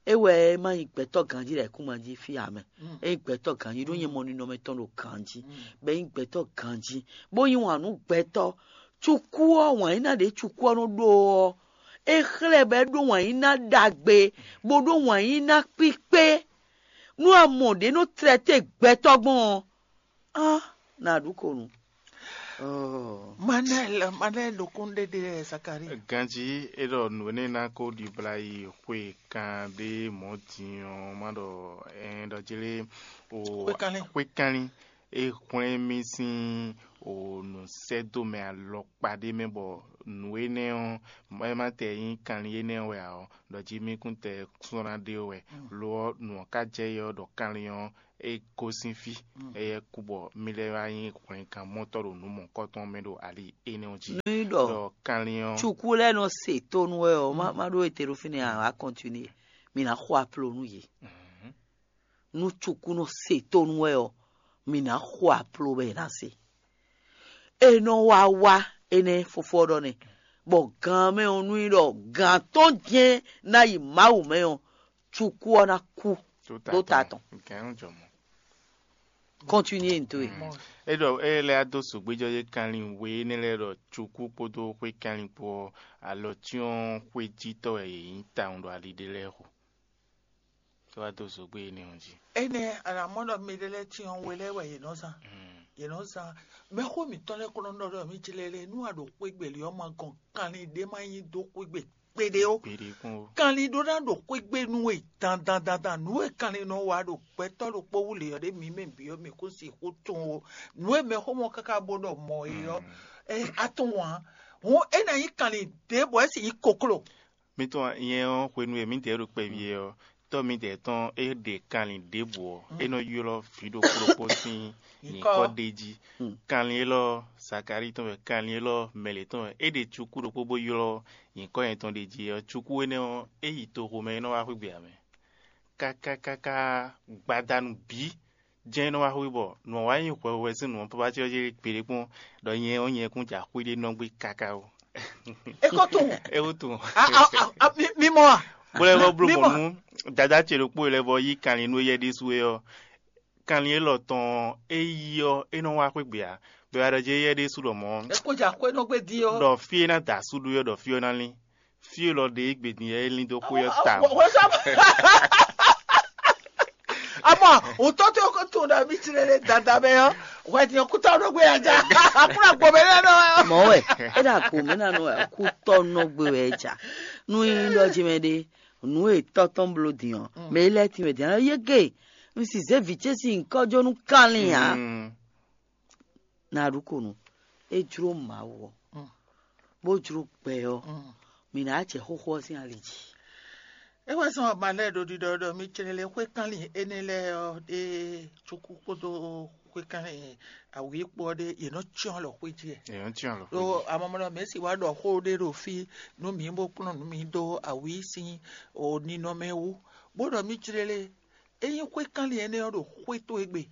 é wɛ é má nyí gbɛtɔ́ ganjí ɖo ayǐkúngban jí fí ǎ mɛ. É nyí gbɛtɔ́ ganjí ɖó nyɛ mɔ ninɔmɛ tɔn ɖo ganjí, bɔ é nyí gbɛtɔ́ ganjí, bó yí wǎn nú gbɛtɔ́. Cukú ɔ́, wǎn yíná ɖě cukú ɔ́ nɔ ɖó ɔ́, é xlɛ́ bɔ é ɖó wǎn yíná ɖagbe, bó ɖó wǎn yíná kpíkpé. Nú a mɔ ɖě nɔ tlɛ́té gbɛtɔ́ gbɔn ɔ́, á nǎ ɖu ko nú. Manɛl, Manɛl ɖokún ɖé ɖe Zakari. Ganjí é ɖɔ nǔ énɛ́ ná kó ɖibla yi xwe kan ɖé mɔ̌ din ɔ́, má ɖɔ ɛn ɖɔ jlé o Xwékanlin. Xwékanlin é hwlɛ́n mì sín o nǔsɛ́dómɛ alɔkpa ɖé mɛ bɔ nǔ énɛ́ ɔ́, é má tɛ nyí kanlin énɛ́ wɛ ǎ ɔ́, ɖɔ jí mì kún tɛ sɔ́ ná ɖe wɛ. Lo ɔ́, nǔ ɔ́ ka jɛ yɛ ɔ́ ɖɔ kanlin ɔ́ é gosín fí, éyɛ́ kú bɔ mì lɛ́ wá nyí hwlɛngán mɔtɔ́ ɖo nǔ mɔ̌kɔtɔn mɛ ɖo ali énɛ́ ɔ́ jí. Nú í ɖɔ ɖɔ kanlin ɔ́, cukú lɛ́ɛ nɔ se tónú wɛ ɔ́, má má ɖó ete ɖo fínɛ́ ǎ, wá kɔntinué. Mi ná xo aplo nú yě. Nú cukú nɔ se tónú wɛ ɔ́, mi ná xo aplo bɔ è nǎ se. È nɔ wá wá énɛ́ fofó ɔ́ ɖɔ nɛ́, bɔ gan mɛ ɔ́ nú í ɖɔ gan tɔn jɛ́n ná yi Mawu mɛ ɔ́, cukú ɔ́ ná kú ɖó ta tɔn. Kɔntinué n towe. É ɖɔ é lɛ́ dó sǒgbéjɔ́ yé kanlin we énɛ́ lɛ́ɛ ɖɔ cukú kpódó xwé kanlin kpó ɔ́, alɔ cyɔ́n xwéjítɔ́ wɛ yě nyí tawun ɖo ali ɖé lɛ́ɛ xo. É wá dó zǒgbé énɛ́ ɔ́ jí. Énɛ́ a nǎ mɔ ɖɔ mɛɖé lɛ́ɛ cyɔ́n we lɛ́ɛ wɛ yě nɔ zán. Yě nɔ zán. Mɛxó mǐtɔn lɛ́ɛ kɔn nɔ ɖɔ ɖɔ mì jlɛ́ lɛ́ɛ nú a ɖo xwé gbe lě ɔ́ ma gɔn kanlin ɖé ma nyí dó xwé gbe kpeɖé ó. Gbeɖé kún ó. Kanlin ɖó ná ɖo xwé gbe nú we dandan dandan. Nǔ e kanlin nɔ wa ɖo gbɛtɔ́ ɖokpó wú lě ɔ́ ɖé mǐ mɛ bǐ ɔ́ mǐ kún sixú tunwun ó. Nǔ e mɛxó mɔ káká bó ɖɔ mɔ̌ é ɔ́, é a tunwun ǎ. Hǔn é ná nyí kanlin ɖěbǔ wɛ é sì nyí kokló. Mi tunwun nyɛ ɔ́ hwenu e mǐdɛɛ ɖo kpɛví é ɔ́, tɔ́ mǐdɛɛ tɔn é ɖe kanlin ɖěbǔ ɔ́, é nɔ ylɔ́ vǐ ɖokpó ɖokpó sín nyǐkɔ ɖ'é jí. Kanlin élɔ́ Zakalíi tɔn wɛ, kanlin élɔ́ mɛ lě tɔn wɛ. É ɖe cukú ɖokpó bó ylɔ́ nyǐkɔ nyɛ tɔn ɖ'é jí ɔ́, cukú énɛ́ ɔ́, é yi toxo mɛ é nɔ wá xwé gbe ǎ mɛ. Káká káká gbadanu bǐ jɛ́n é nɔ wá xwé bɔ nǔ ɔ́ wá nyí hwɛhwɛ sín nǔ ɔ́ pápá cyɔ́cyɔ́ gbeɖé kpɔ́n ɖɔ nyɛ ɔ́ nyɛ kún jɛ xwé ɖé nɔ gbé káká ó. É ko tunwun. É wú tunwun. A, a, a, a, mi, mi mɔ a? Bó lɛ́ vɔ bló Mi mɔ. Mɔ̌ nú dadá ce ɖokpó e lɛ́ vɔ yí kanlin nú éyɛ́ ɖésú é ɔ́, kanlin élɔ́ tɔn ɔ́, é yí ɔ́, é nɔ wá xwé gbe ǎ. Bɔ è wá ɖɔ jɛ éyɛ́ ɖésú ɖɔ mɔ̌. É ko jɛ akwɛ́ nɔ gbé din ɔ́. Ɖɔ fí e ná da asú ɖó é ɔ́, ɖɔ fí ɔ́ ná lín. Fí élɔ́ ɖe é gbe din é lín dó xwé ɔ́ tawun. Wɔ- wɔ- sɔ- Amɔ wòtɔ́ tó ko tunwun ɖɔ mí tlɛ lé dada mɛ ɔ́, hwɛ din ɔ́ kútɔ́ nɔ gbé ya ja. Akúrò agbo mɛ lɛ nɔ ɔ́. Mɔ̌ wɛ é ɖo ago mɛ ná nɔ wɛ kútɔ́ nɔ gbé wɛ ja. Nú yín ɖɔ jí mɛ ɖé, nǔ e tɔ́ tɔn bló din ɔ́, mɛ é lɛ́ tin wɛ din ɔ́, yé ge, un sì zé vǐ ce sín nyǐkɔ jó nú kanlin ǎ. Mm. Na ɖu ko nu, é jló Mawu ɔ́, bó jló gbɛ ɔ́, mǐ ná jɛ xóxó ɔ́ sín ali jí. É wɛ zɔn ma lɛ́ ɖo ɖiɖɔ ɖɔ mi clɛlɛ xwé kanlin énɛ́ lɛ́ɛ ɔ́ ɖé cúkú kpódó xwé kanlin awǐ kpó ɔ́ ɖé, yě nɔ cyɔ́n alɔ xwé jí wɛ. Yě nɔ cyɔ́n alɔ xwé jí. Ɖó amamɔnɔ mɛ̌si wá ɖɔ xó ɖé ɖo fí nú mǐ bó kplɔ́n nǔ mǐ dó awǐ sín o ninɔmɛ wú, bó ɖɔ mí clɛlɛ ényí xwé kanlin énɛ́ ɔ́ ɖo xwé towe gbe,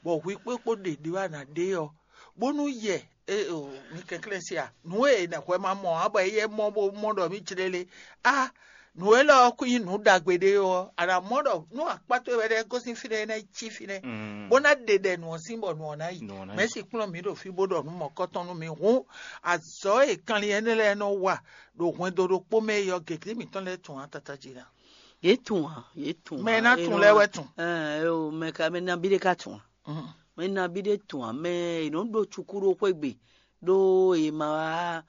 bɔ hwi kpókpó ɖě ɖé wɛ a nǎ ɖe ɔ́, bónú yɛ e o mi kɛnklɛ́n se a, nǔ e è nɔ hwɛ ma mɔ ǎ bɔ éyɛ́ mɔ bó mɔ ɖɔ mì jlé lé a, nǔ élɔ́ ɔ́ kún nyí nǔ ɖagbe ɖé ɔ́, a nǎ mɔ ɖɔ nú akpá towe wɛ ɖɛ́ gosín fínɛ́ é ná yi cí fínɛ́, bó ná ɖe ɖɛ nǔ ɔ́ sín bɔ nǔ ɔ́ ná yi. Nǔ ɔ́ ná yi. Mɛ̌si kplɔ́n mǐ ɖo fí bó ɖɔ nǔ mɔ̌kɔtɔn nú mi hǔn, azɔ̌ e kanlin énɛ́ lɛ́ɛ nɔ wa ɖo hwɛndo ɖokpó mɛ é ɔ́, gěgé mǐtɔn lɛ́ɛ tunwun ǎ tata jí ná. Yě tunwun ǎ, yě tunwun ǎ. Mɛ e ná tunwun lɛ́ɛ wɛ tunwun. Ɛɛ o, mɛ ka mɛ nabí ɖé ka tunwun ǎ. Mɛ nabí ɖé tunwun ǎ, mɛ è nɔ ɖo cukú ɖó xwé gbe, ɖó è ma wá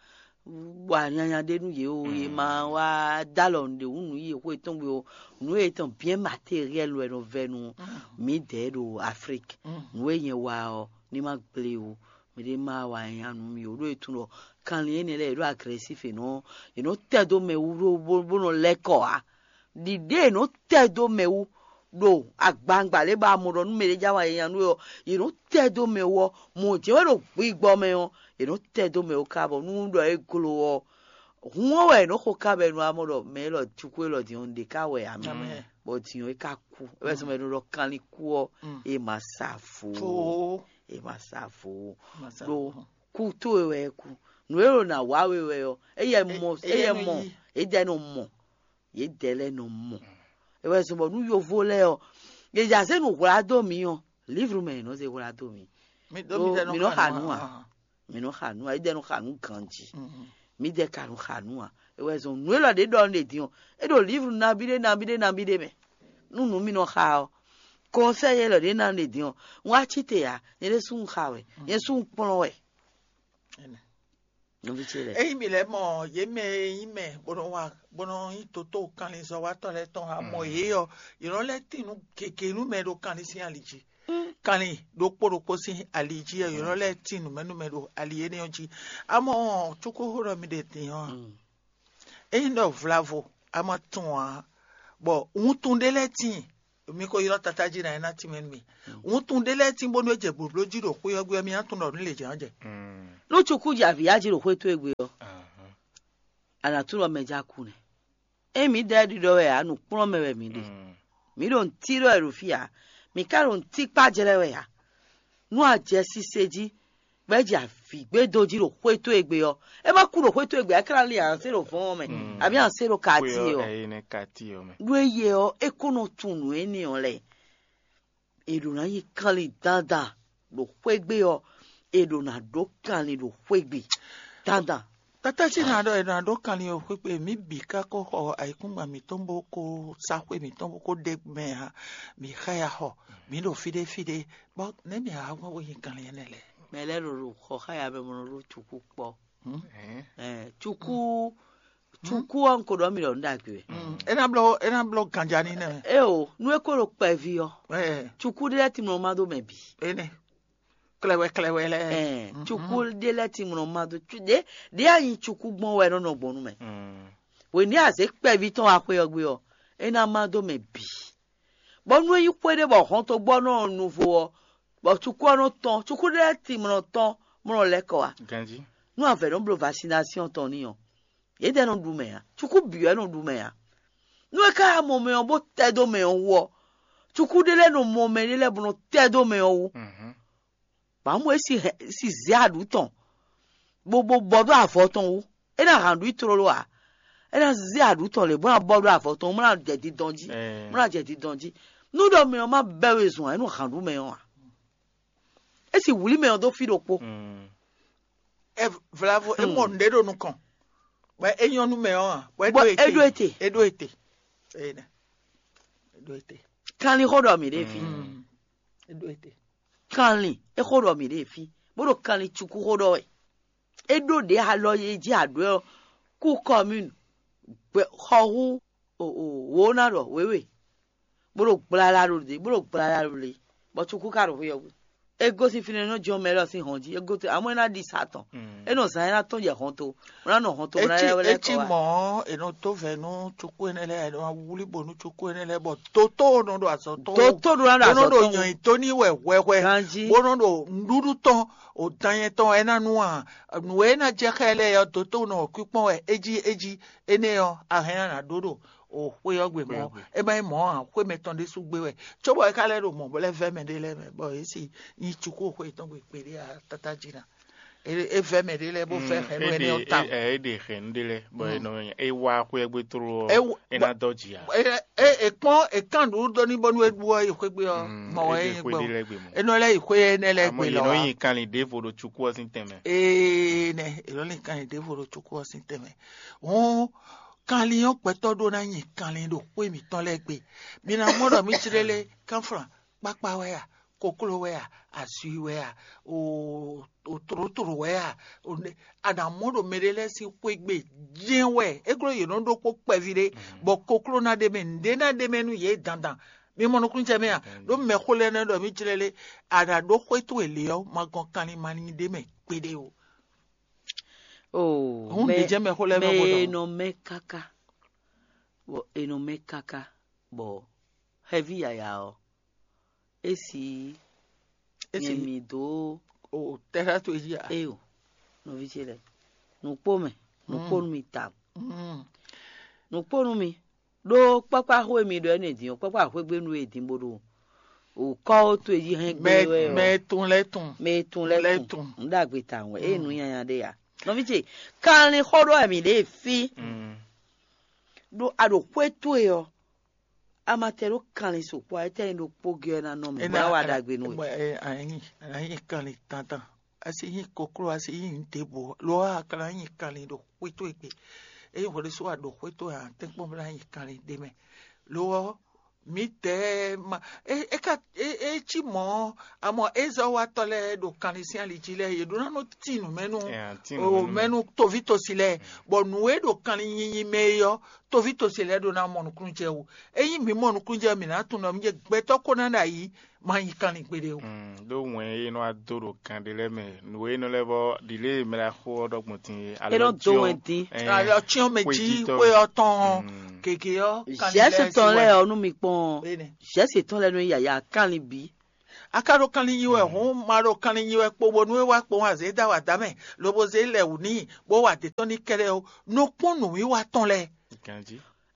wa nyanya ɖé nú yě o, è ma wá dó alɔ nǔɖé wú nǔ yě xwé tɔn gbe o, nǔ yětɔn bien matériel wɛ nɔ vɛ nú mǐdɛɛ ɖo Afrique. Nǔ e nyɛ wa ɔ́, ní ma gblé o, mɛɖé ma wa nyanya nú mì o, ɖó è tunwun ɖɔ kanlin énɛ́ lɛ́ɛ è ɖó agressif è nɔ è nɔ tɛ dó mɛ wú ɖó bó bó nɔ lɛ́ kɔ ǎ. Ɖiɖe è nɔ tɛ dó mɛ wú ɖo agbangba lě ba mɔ ɖɔ nú mɛɖé já wa nyanya nú we ɔ́, è nɔ tɛ dó mɛ wú ɔ́, mɔ̌ jɛ́n wɛ ɖo gbigbɔ mɛ ɔ́, è nɔ tɛ dó mɛ wú ká bɔ nú ɖɔ é glo ɔ́, hun ɔ́ wɛ è nɔ xo ká bɔ è nɔ wá mɔ ɖɔ mɛ élɔ́ cukú élɔ́ din ɔ́, un ɖe ká wɛ ǎ mɛ. Bɔ din ɔ́ é ká kú. É wɛ zɔn mɛ è nɔ ɖɔ kanlin kú ɔ́, é ma sa vo. É ma sa vo. Ɖó kú towe wɛ é kú. Nǔ e ɖo nǎ wa we wɛ ɔ́, éyɛ mɔ, éyɛ mɔ, édɛ́ nɔ mɔ, yědɛɛ lɛ́ɛ nɔ mɔ. É wɛ zɔn bɔ nú yovo lɛ́ɛ ɔ́, yě ja zé nǔ hwlá dó mǐ ɔ́, livru mɛ yě nɔ zé hwlá dó mǐ. Ɖó mǐ nɔ xa nǔ ǎ. Mǐ nɔ xa nǔ ǎ, édɛ́ nɔ xa nǔ ganjí. Mǐdɛɛ ka nɔ xa nǔ ǎ. É wɛ zɔn nǔ élɔ́ ɖě ɖɔ un ɖe din ɔ́, é ɖo livru nabí ɖé nabí ɖé nabí ɖé mɛ. Nú nǔ mǐ nɔ xa ɔ́, kɔnsɛ́yi élɔ́ ɖě ná un ɖe din ɔ́, un wá cí te ǎ, nyɛ ɖésú un xa wɛ, nyɛ sú un kplɔ́n wɛ. Nɔví ce lɛ́ɛ. Ényí mǐ lɛ́ mɔ yě mɛ e nyí mɛ bó nɔ wa bó nɔ nyí toto kanlin zɔ́watɔ́ lɛ́ɛ tɔn ǎ, mɔ yě ɔ́, yě nɔ lɛ́ tín nǔ gěgé nú mɛ ɖo kanlin sín ali jí. Kanlin ɖokpó ɖokpó sín ali jí ɔ́, yě nɔ lɛ́ tín nǔmɛnúmɛ ɖo ali énɛ́ ɔ́ jí. Amɔ̌ cókóxó ɖɔ mi ɖe din ɔ́, ényí ɖɔ vlavo a ma tunwun ǎ, bɔ wuntun ɖé lɛ́ɛ tíin, Mi ko ylɔ́ tatá jí ná é ná tínmɛ nú mi. Wuntun ɖé lɛ́ɛ tín bónú é jɛ blǒbló jí ɖo xwé ɔ́ gbe ɔ́, mi ná tunwun ɖɔ nǔ lě jɛ́n ɔ́ jɛ. Nú cukú jɛ avǐ ya jí ɖo xwé towe gbe ɔ́, a nǎ tunwun ɖɔ mɛ ja kú nɛ́. Ényí mǐdɛɛ ɖiɖɔ wɛ ǎ, nǔkplɔ́nmɛ wɛ mǐ ɖe. Mǐ ɖo nǔtí ɖɔ wɛ ɖo fí ǎ. Mǐ ka ɖo nǔtí kpá jlɛ́ wɛ ǎ. Nú a jɛ sise jí, bɔ é jɛ avǐ gbe dó jí ɖo xwé towe gbe ɔ́, é ma kú ɖo xwé towe gbe ǎ, é ka ná lin anse ɖo vɔ̌ɔn ɔ́ mɛ, abǐ anse ɖo kati ɔ́. Ɖó eye ɔ́, é ko nɔ tunwun nǔ énɛ́ ɔ́ lɛ́ɛ. È ɖǒ ná nyi kanlin dandan ɖo xwé gbe ɔ́, è ɖǒ ná ɖó kanlin ɖo xwé gbe dandan. Tata ce ná ɖɔ è nɔ ɖó kanlin ɔ́ xwé gbe, mǐ bǐ ka ko xɔ ayǐkúngban mǐtɔn bó ko sá xwé mǐtɔn bó ko ɖe mɛ ǎ. Mǐ xa ya xɔ, mǐ ɖo fí ɖé fí ɖé, bɔ nɛ̌ mǐ a gbɔn bó nyi kanlin énɛ́ lɛ́ɛ? Mɛ lɛ́ɛ ɖo ɖo xɔ xá ya mɛ bó nɔ ɖó cukú kpɔ́. Ɛɛ, cukú cukú ɔ́, un ko ɖɔ mì ɖɔ nǔ ɖagbe wɛ. É ná bló é ná bló ganja ní nɛ. Eo, nú é ko ɖo kpɛví ɔ́, Ɛɛ, cukú ɖé lɛ́ɛ timlɔ ma dó mɛ bǐ. Énɛ́ klɛwɛ klɛwɛ lɛ́ɛ. Ɛɛ, cukú ɖé lɛ́ɛ timlɔ ma dó cu- ɖé ɖé anyi cukú gbɔn wɛ nɔ nɔ gbɔn nú mɛ. Wění azě kpɛví tɔn wá xwé ɔ́ gbe ɔ́, é ná ma dó mɛ bǐ. Bɔ nú é nyí xwé ɖé bɔ hɔntogbɔ́nɔ ɔ́ nu vo ɔ́, bɔ cukú ɔ́ nɔ tɔn, cukú ɖé lɛ́ɛ timlɔ tɔn mlɔ lɛ́ kɔ wá. Ganjí. Nú avɛ̌ nɔ bló vaccination tɔn n'i ɔ́, yědɛɛ nɔ ɖu mɛ ǎ, cukú bǐ wɛ nɔ ɖu mɛ ǎ. Nú é ka mɔ mɛ ɔ́ bó tɛ́ dó mɛ ɔ́ wú ɔ́, cukú ɖé lɛ́ɛ nɔ mɔ mɛ ɖé lɛ́ɛ bó nɔ tɛ́ dó mɛ ɔ́ wú. Bɔ amɔ̌ é si hɛn si zě aɖǔ tɔn, bó bó bɔ dó avɔ tɔn wú. É ná hǎn ɖu i tlóló ǎ. É ná zé aɖǔ tɔn lě bó ná bɔ dó avɔ tɔn wú, bó ná jɛ dindɔn jí. Bó ná jɛ dindɔn jí. Nú ɖɔ mɛ ɔ́ má bɛ́ we zɔn ǎ, é nɔ hǎn ɖu mɛ ɔ́ ǎ. É si wlǐ mɛ ɔ́ dó fí ɖokpó. Vlavo é mɔ nǔɖé ɖo nukɔn, bɔ é nyɔ́ nú mɛ ɔ́ ǎ, bɔ é Bɔ ɖó é ɖó ete. Ete. É ɖó ete. Énɛ́. É ɖó ete. Kanlin xó ɖɔ mǐ ɖe fí. É ɖó ete. Kanlin é xó ɖɔ mǐ ɖe fí, bó ɖo kanlin cukú xó ɖɔ wɛ. É ɖó ɖě alɔ e jí aɖǒ ɔ́, kú kɔmínu, xɔ hú wǒ ná ɖɔ wěwe, bó ɖo gblála ɖo ɖě bó ɖo gblála ɖo lě, bɔ cukú ka ɖo xwé ɔ́ gbe. É gosín fínɛ́ nɔ jɔ́n mɛ lɔ sín hɔn jí, é gosín amɔ́ é ná ɖi sa tɔn. É nɔ zán é ná tɔ́n jɛ hɔn to, bó ná nɔ hɔn to bó ná Etsi lɛ́ wɛ lɛ́ etsi kɔ wá. Mɔ̌ è nɔ dó vɛ̌ nú cukú énɛ́ lɛ́ɛ, è nɔ wlí bǒ nú cukú énɛ́ lɛ́ɛ, bɔ dotó nɔ ɖo azɔ̌ tɔn wú. Dotó ɖo ná ɖo Bó nɔ azɔ̌ ɖo tɔn wú. Nyɔ̌yitó ní wɛ hwɛhwɛ. Ganjí. Bó nɔ ɖo nǔɖuɖu tɔn o dan nyɛ tɔn wɛ é ná nú a nǔ e ná jɛ xá ɛ lɛ́ɛ ɔ́, dotó nɔ wɔ kwíkpɔ́n wɛ é jí é jí. Énɛ́ ɔ́, a hɛn ná ná ɖó ɖo o xwé ɔ́ gbe mɔ̌. É má nyí mɔ̌ ǎ, xwé mɛtɔn ɖésú gbé wɛ. Cóbɔ é ka lɛ́ ɖo mɔ̌ bó lɛ́ vɛ́ mɛ ɖé lɛ́ɛ mɛ, bɔ yě si nyi cukú xwé tɔn gbe kpeɖé a tata jí ná. É é vɛ́ mɛ ɖé lɛ́ɛ bó vɛ́ hɛn nú énɛ́ ɔ́ tawun. É ɖe hɛn ɖé lɛ́ɛ bɔ é nɔ é wá xwé gbe tló É ɔ́, wɔ- é ná dɔ jì ǎ. É é é kpɔ́n é kán nǔɖuɖu dó ní bónú é ɖu ɔ́ yi xwé gbe ɔ́, mɔ wɛ é é nyí xwé gbɔ. Ɖé lɛ́ɛ gbe mɔ̌. É nɔ lɛ́ yi xwé énɛ́ lɛ́ɛ Àmọ́ gbe yě lɔ nɔ wá. Yin kanlin ɖěvo ɖo cukú ɔ́ sín tɛnmɛ. Ee nɛ, é lɔ ní kanlin ɖěvo ɖo cukú ɔ́ sín tɛnmɛ. Hɔn kanlin ɔ́ gbɛtɔ́ ɖó ná nyi kanlin ɖo xwé mǐtɔn lɛ́ɛ gbe. Mi ná mɔ ɖɔ mí jlé lé kánflán kpákpá wɛ a, kokló wɛ a, azui wɛ a, o o tlǒtlǒ wɛ a, o ne a nǎ mɔ ɖo mɛɖé lɛ́ɛ sín xwé gbe jɛ́n wɛ. É glɔ́ yě nɔ ɖó kpó kpɛví ɖé, bɔ kokló ná ɖe mɛ, nǔɖé ná ɖe mɛ nú yě dandan. Mi mɔ nukúnnú jɛ mɛ a? Ɖó mɛxó lɛ́ɛ nɔ ɖɔ mí jlɛ́ lé, a nǎ ɖó xwé towe lě ɔ́, ma gɔn kanlin ma ní ɖe mɛ gbeɖé o. Oo, Hǔn mɛ ɖě jɛ́n mɛxó lɛ́ɛ nɔ mɛ bo ɖɔ. E nɔ mɛ káká, bɔ e nɔ mɛ káká, bɔ xɛví yaya ɔ́, é si É si nyɛ mi dó o tɛ́ xá towe jí a? Eyo, nɔví ce lɛ́ɛ, nǔkpó mɛ, nǔkpó nú mi ta. Mm. Nǔkpó nú mi, ɖó kpákpá xó e mi ɖɔ énɛ́ din ɔ́, kpákpá xwégbénu e din bó ɖo o kɔ́ ó towe jí hɛn gbé Mɛ wɛ ɔ́. Mɛ tun lɛ́ tun. Mɛ tun lɛ́ Lɛ́ tun. Tun. Nǔ ɖagbe tawun wɛ, eye nǔ nyanya ɖé ya. Nɔví ce, kanlin xó ɖɔ wɛ mǐ ɖe fí. Mm. Ɖó a ɖo xwé towe ɔ́, a ma tɛ ɖó kanlin sukpɔ́ a, étɛ́ nyí ɖokpó gɛ́ ɔ́ ná nɔ mì, bó ná wa ɖagbe nú we. Anyi anyi kanlin tantan, a si nyi kokló, a si nyi nǔ ɖěbǔ, lo ɔ́ a ka ná nyi kanlin ɖo xwé towe gbe. Ényí hwɛ ɖésú a ɖo xwé towe a, tɛ́nkpɔ́n bó ná nyi kanlin ɖ'é mɛ. Lo ɔ́, mǐdɛɛ ma é é ka é é cí mɔ̌, amɔ ézɔ́watɔ́ lɛ́ɛ ɖo kanlin sín ali jí lɛ́ɛ, yě ɖó ná nɔ tín nǔ mɛ nú Ɛ, a tín nǔ o mɛ nú mɛ mɛ. Nú toví tosi lɛ́ɛ, bɔ nǔ e ɖo kanlin nyinyi mɛ é ɔ́, toví tosi lɛ́ɛ ɖó ná mɔ nukúnnú jɛ wú. Ényí mǐ mɔ nukúnnú jɛ, mǐ ná tunwun ɖɔ mǐ jɛ gbɛtɔ́ ko ná ɖo ayǐ má nyí kanlin kpéɖé o. Ɖó wɛn e nɔ wá dó ɖo kan ɖé lɛ́ɛ mɛ, nǔ e nɔ lɛ́ vɔ ɖǐlé e mɛ ɖaxó ɔ́ ɖɔ gbɔn din é, é nɔ dó wɛn dín. Alɔ cyɔ́n mɛ jí xwé ɔ́ tɔn ɔ́, gěgé ɔ́, Jɛ̌si tɔn lɛ́ɛ ɔ́, nú mi kpɔ́n ɔ́, Jɛ̌si tɔn lɛ́ɛ nɔ nyí yǎyá kanlin bǐ. A ka ɖo kanlin nyi wɛ hǔn, ma ɖo kanlin nyi wɛ kpo bónú é wá kpowun azě dó awǎda mɛ, lobo zé lɛ wǔ n'i, bó wa dě tɔn n'i kɛ́ɖɛ́ ó. Nɔ kpɔ́n nǔwiwa tɔn lɛ́ɛ.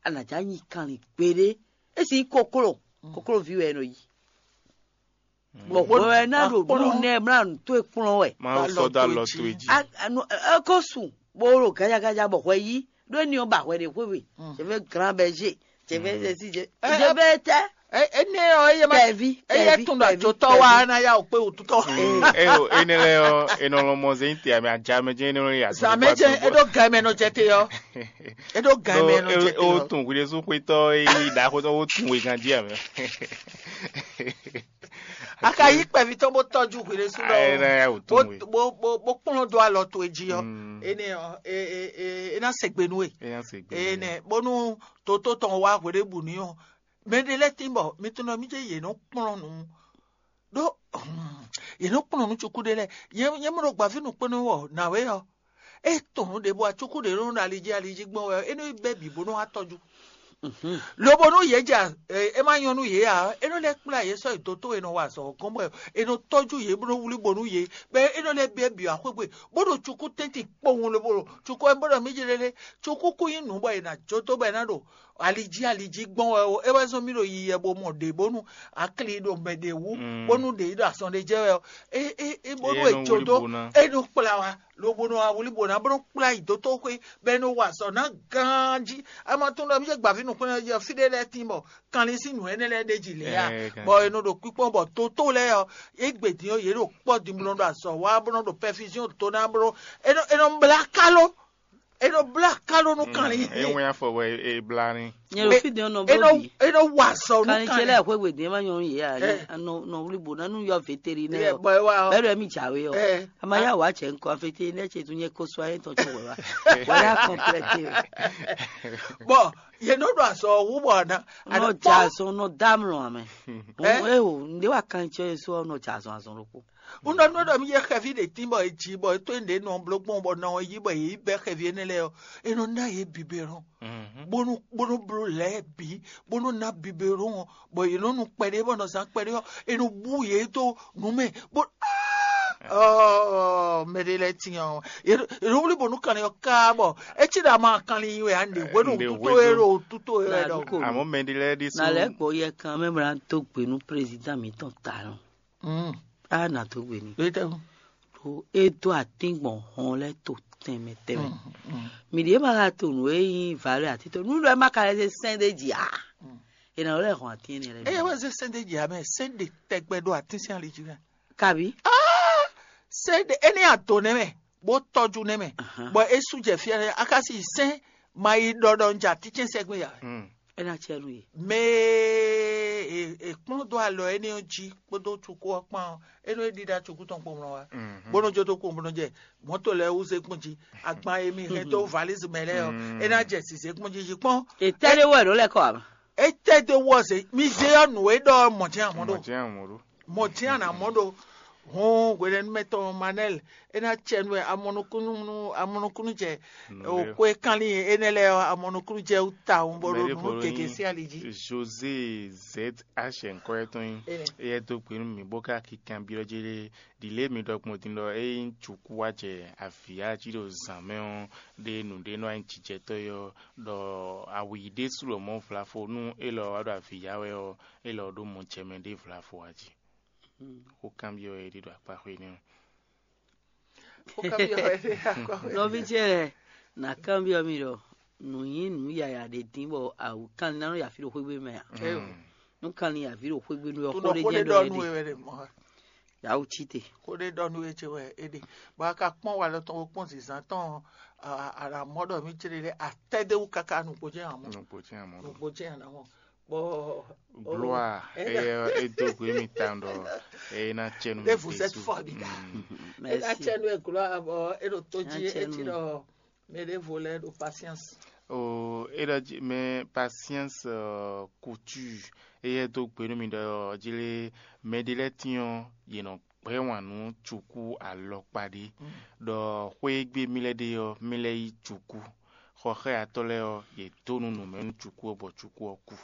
A nǎ já nyi kanlin gbeɖé. É sì nyí kokló, koklóví wɛ é nɔ yi. Bɔ hwɛ wɛ ná ɖo nú nɛ mlá nǔ tó e kplɔ́n wɛ. Mawu sɔ́ dó alɔ towe jí. É ko su bó ɖo gájágájá bɔ hwɛ yí ɖó éní ɔ́ ba hwɛ ɖe xwé we. Je vais grand berger. Je vais ceci, je, je vais tɛ. Énɛ́ ɔ́, eye ma Tɛvi, eye tɛvi, tún ɖo tɛvi, ajotɔ tɛvi. Wa ná yá wò kpé wò tutɔ. Eyo, énɛ́ lɛ́ɛ ɔ́, è nɔ lɔn mɔ zé nyí te ame ajá mɛ jɛ́n énɛ́ lɔn yà. Zan mɛ jɛ eɖo gan mɛ nɔ jɛ te yɔ. Eɖo gan mɛ nɔ jɛ te O yɔ. tun hwi ɖésú xwetɔ e nyí ɖaxótɔ o tun wegán jí ame. A ka yí kpɛví tɔn bó tɔjú hwi ɖésú Ayé ná yá wò bó tun wé. bó bó bó kplɔ́n dó alɔ towe jí ɔ. Mm. Énɛ́ ɔ é é é é ná sègbè nú we. Eyán se gbé. Énɛ́ bónú tótó tɔn wá hwe ɖé bu ní ɔ. Mɛ ɖé lɛ́ɛ tín bɔ mi tunɔ mi jẹ́ yě nɔ kplɔ́n nǔ ɖó yě nɔ kplɔ́n nǔ cukú ɖé lɛ́ɛ. Yě yě mɔ ɖo gbǎví nukpɛ́nú wɔ nǎwe ɔ. É tɔn nǔ ɖě bɔ acukú ɖě nɔ ɖo ali jí ali jí gbɔn wɛ é nɔ bɛ́ bǐ bó nɔ wá tɔjú. Lobo nú yě ja é má nyɔ́ nú yě ǎ, é nɔ lɛ́ kplá yě sɔ́ yi dótó e nɔ wa azɔ̌ ɔ́ gɔ́n bɔ é nɔ tɔ́jú yě bó nɔ wlí bo nú yě, bɔ é nɔ lɛ́ byɔ́ byɔ́ axwé gbe, bó ɖo cukú tɛ́ntin kpowun lobo ɖo cukú ɔ́ bó ɖɔ mí jlélé, cukú kú nyí nǔ bɔ è nǎ jó dó bɔ è nǎ ɖo ali jí ali jí gbɔn wɛ ó. É wɛ zɔ́n mì ɖo yiyi wɛ bo mɔ ɖě bónú akli ɖo mɛ ɖě wú, bónú ɖě yi ɖo azɔn ɖé jɛ wɛ ɔ́. É é é bónú É è nɔ jó wlí dó bo ná. é nɔ kplá wa lobo nɔ awlí bo ná bó nɔ kplá yi dótó xwé bɔ é nɔ wa azɔ̌ ná gán jí. Ama tún ɖɔ mí jẹ́ gbàví nukúnlẹ̀ jẹ́ fí ɖé lɛ́ɛ tín bɔ kanlin sín nǔ énɛ́ lɛ́ɛ ɖé jì lě ya. Ɛ, kan- Bɔ è nɔ ɖo kpíkpɔ́n bɔ tótó lɛ́ɛ ɔ́, é gbě dín ɔ́ yě ɖo kpɔ́ din bó nɔ ɖo azɔ̌ wa bó nɔ ɖo pɛfizíɔn tó ná bó nɔ é nɔ é nɔ blá káló é nɔ blá káló nú kanlin. É wɛn afɔ bɔ é blá ní. Nyɛ ɖo fí din ɔ́ nɔ É bló nɔ bǐ. é nɔ wa azɔ̌ nú Kanlin ce kanlin. Lɛ́ɛ xwé gbe din ma nyɔnu yɛ a Eh. nɔ nɔ wuli bo na nu yɔ vétérinaire Ɛ, bɔ é wa ɔ́. Bɛɛ ɖɔ mi dza we ɔ. Eh. A ma yá wá cɛ ŋkɔ vétérinaire ce tún nyɛ ko sɔ ayé tɔn tún wɛ wa. Wala kɔnplɛte o. Bɔ yě nɔ ɖo azɔ̌ wú bɔ na. Nɔ dza sɔn nɔ dá mlɔ amɛ. Eh? Eho nde wa kan cɛ so nɔ dza sɔn azɔn ɖokpo. Wonɔ nɔ ɖɔ mi yɛ xɛvi ɖe tín bɔ e jí bɔ e tó ɖe nɔ bló gbɔn bɔ nɔ yi bɔ yě yi bɛ xɛvi énɛ́ lɛ́ɛ ɔ, e nɔ ná yě biberon. Bónú bónú bló lɛ́ɛ bǐ bónú ná biberon ɔ, bɔ yě nɔ nu kpɛɖé bɔ nɔ zán kpɛɖé ɔ, e nɔ bú yě dó nǔ mɛ bó. Ɔɔ mɛ ɖé lɛ́ɛ tiɲɔ ɔ, yě nɔ wlí bónú kanlin ɔ ká bɔ e cí ɖo ama kanlin yi wɛ a nɖe hwenu Nɖe tuto hwenu. e ɖo tuto e wɛ Na ɖɔ. ɖu ko. Àmọ́ mɛ ɖé lɛ́ɛ ɖésú. Na lɛ gbɔ yɛ kan mɛ mla do gbe nu président mi tɔn ta nɔ. Mm. A na do gbe ni. Ɖo tɛ o. Ɖo e do atin gbɔn hɔn lɛ to tɛnmɛ tɛnmɛ. Mi ɖe ma ka to nu e yin valeur ati to nu ɖɔ ma ka lɛ se sɛn de dzi a. E na lɛ hɔn atin ne lɛ. Eye wɛ ze sɛn de dzi amɛ sɛn de tɛgbɛ ɖo atin sin ali dzi mɛ. Kabi. Sɛn de eni ato nɛ mɛ bó tɔjú nɛ mɛ. Bɔ esu jɛ fia lɛ akasi sɛn ma yi ɖɔɖɔ nja titsɛn sɛgbɛ ya. E na cɛ nu ye. Mɛ e e kplɔn do alɔ eni ɔ dzi kpódó tsuku ɔ kpán ɔ eno e ɖiɖa tsuku tɔn kpɔmlɔ wa. Bónú jó tó kpɔmlɔ jɛ mɔto lɛ wú ze kpɔn dzi agban emi hɛn tó valise mɛ lɛ ɔ e na jɛ si ze kpɔn dzi dzi kpɔn. Etɛ de wɔ ɖo lɛ kɔ ama. Etɛ de wɔ ze mi ze ɔ nu e ɖɔ mɔ jɛ amɔ ɖo. Mɔ̀jẹ́ àmọ́ ló. Mɔ jɛ ana mɔ ɖo. Hɔn hwenɛnu mɛ tɔn manɛl e na cɛ nu amɔnukunu amɔnukunu jɛ o ko e kanlin enɛ lɛ ɔ amɔnukunu jɛ uta o bɔ ɖo Mɛ ɖé nu ko keke nyí sí ali dzi. José Z H nkɔ yɛ tɔn nyi. Ene. Eyɛ dó gbe nú mi bó ká kinkan byɔ́ jé ɖé ɖi lě mi ɖɔ gbɔn din ɖɔ é nyí cuku wá jɛ avǐ jí ɖo zǎn mɛ ɔ́ ɖe nǔɖé nɔ anyi jijɛtɔ́ yɔ ɖɔ awu yi ɖésú ɖo mɔ̌ vlafo nú élɔ́ wá ɖo avǐ ya wɛ ɔ́, élɔ́ ɖó mɔ jɛ mɛ ɖé vlafo wá jí. Xó kanbyɔ́ é ɖi ɖo akpá xwé nɛ́. Xó kanbyɔ́ wɛ ɖe akɔ. Nɔvi ce lɛ na kanbyɔ́ mi ɖɔ nǔ nyí nǔ yaya ɖe dín bɔ awu kanlin na nɔ yafi ɖo xwégbe mɛ a. Nú kanlin yafi ɖo xwégbe nú ɔ xó Tunɔ ɖé xó jɛ ɖe nú ɖɔ ɛ nu ɖe. wɛ ɖe mɔ. Yawu tsi te. Xó ɖe ɖɔ nu wɛ ce wɛ é ɖe. Bɔ a ka kpɔn wa lɔ tɔn wo kpɔn zizan tɔn a a mɔ ɖɔ mi ce ɖe a tɛ de wu kaka nukpo jɛ amɔ. Nukpo tí a mɔ ɖo. Nukpo jɛ ana mɔ. Bɔ Gloire, Eh, eye edo gbe mi ta ɖɔ eye na tsɛ nu Ne vous êtes fort, les gars. E na Merci. tsɛ nu e gloire bɔ e ɖo to Na dzi tsɛ e ti nu. ɖɔ mɛ ɖe vo lɛ ɖo patience. O é ɖɔ jí mɛ Patience Couture, éyɛ́ dó gbe nú mi ɖɔ jí lé mɛɖé lɛ́ɛ tín ɔ́, yě nɔ gbɛ́ wǎn nú cukú alɔkpa ɖé, ɖɔ xwé e gbe mì lɛ́ ɖe ɔ́, mì lɛ́ yí cukú. Xɔxɛ́yatɔ́ lɛ́ɛ ɔ́, yě dó nú nǔ mɛ nú cukú ɔ́, bɔ cukú ɔ́ kú.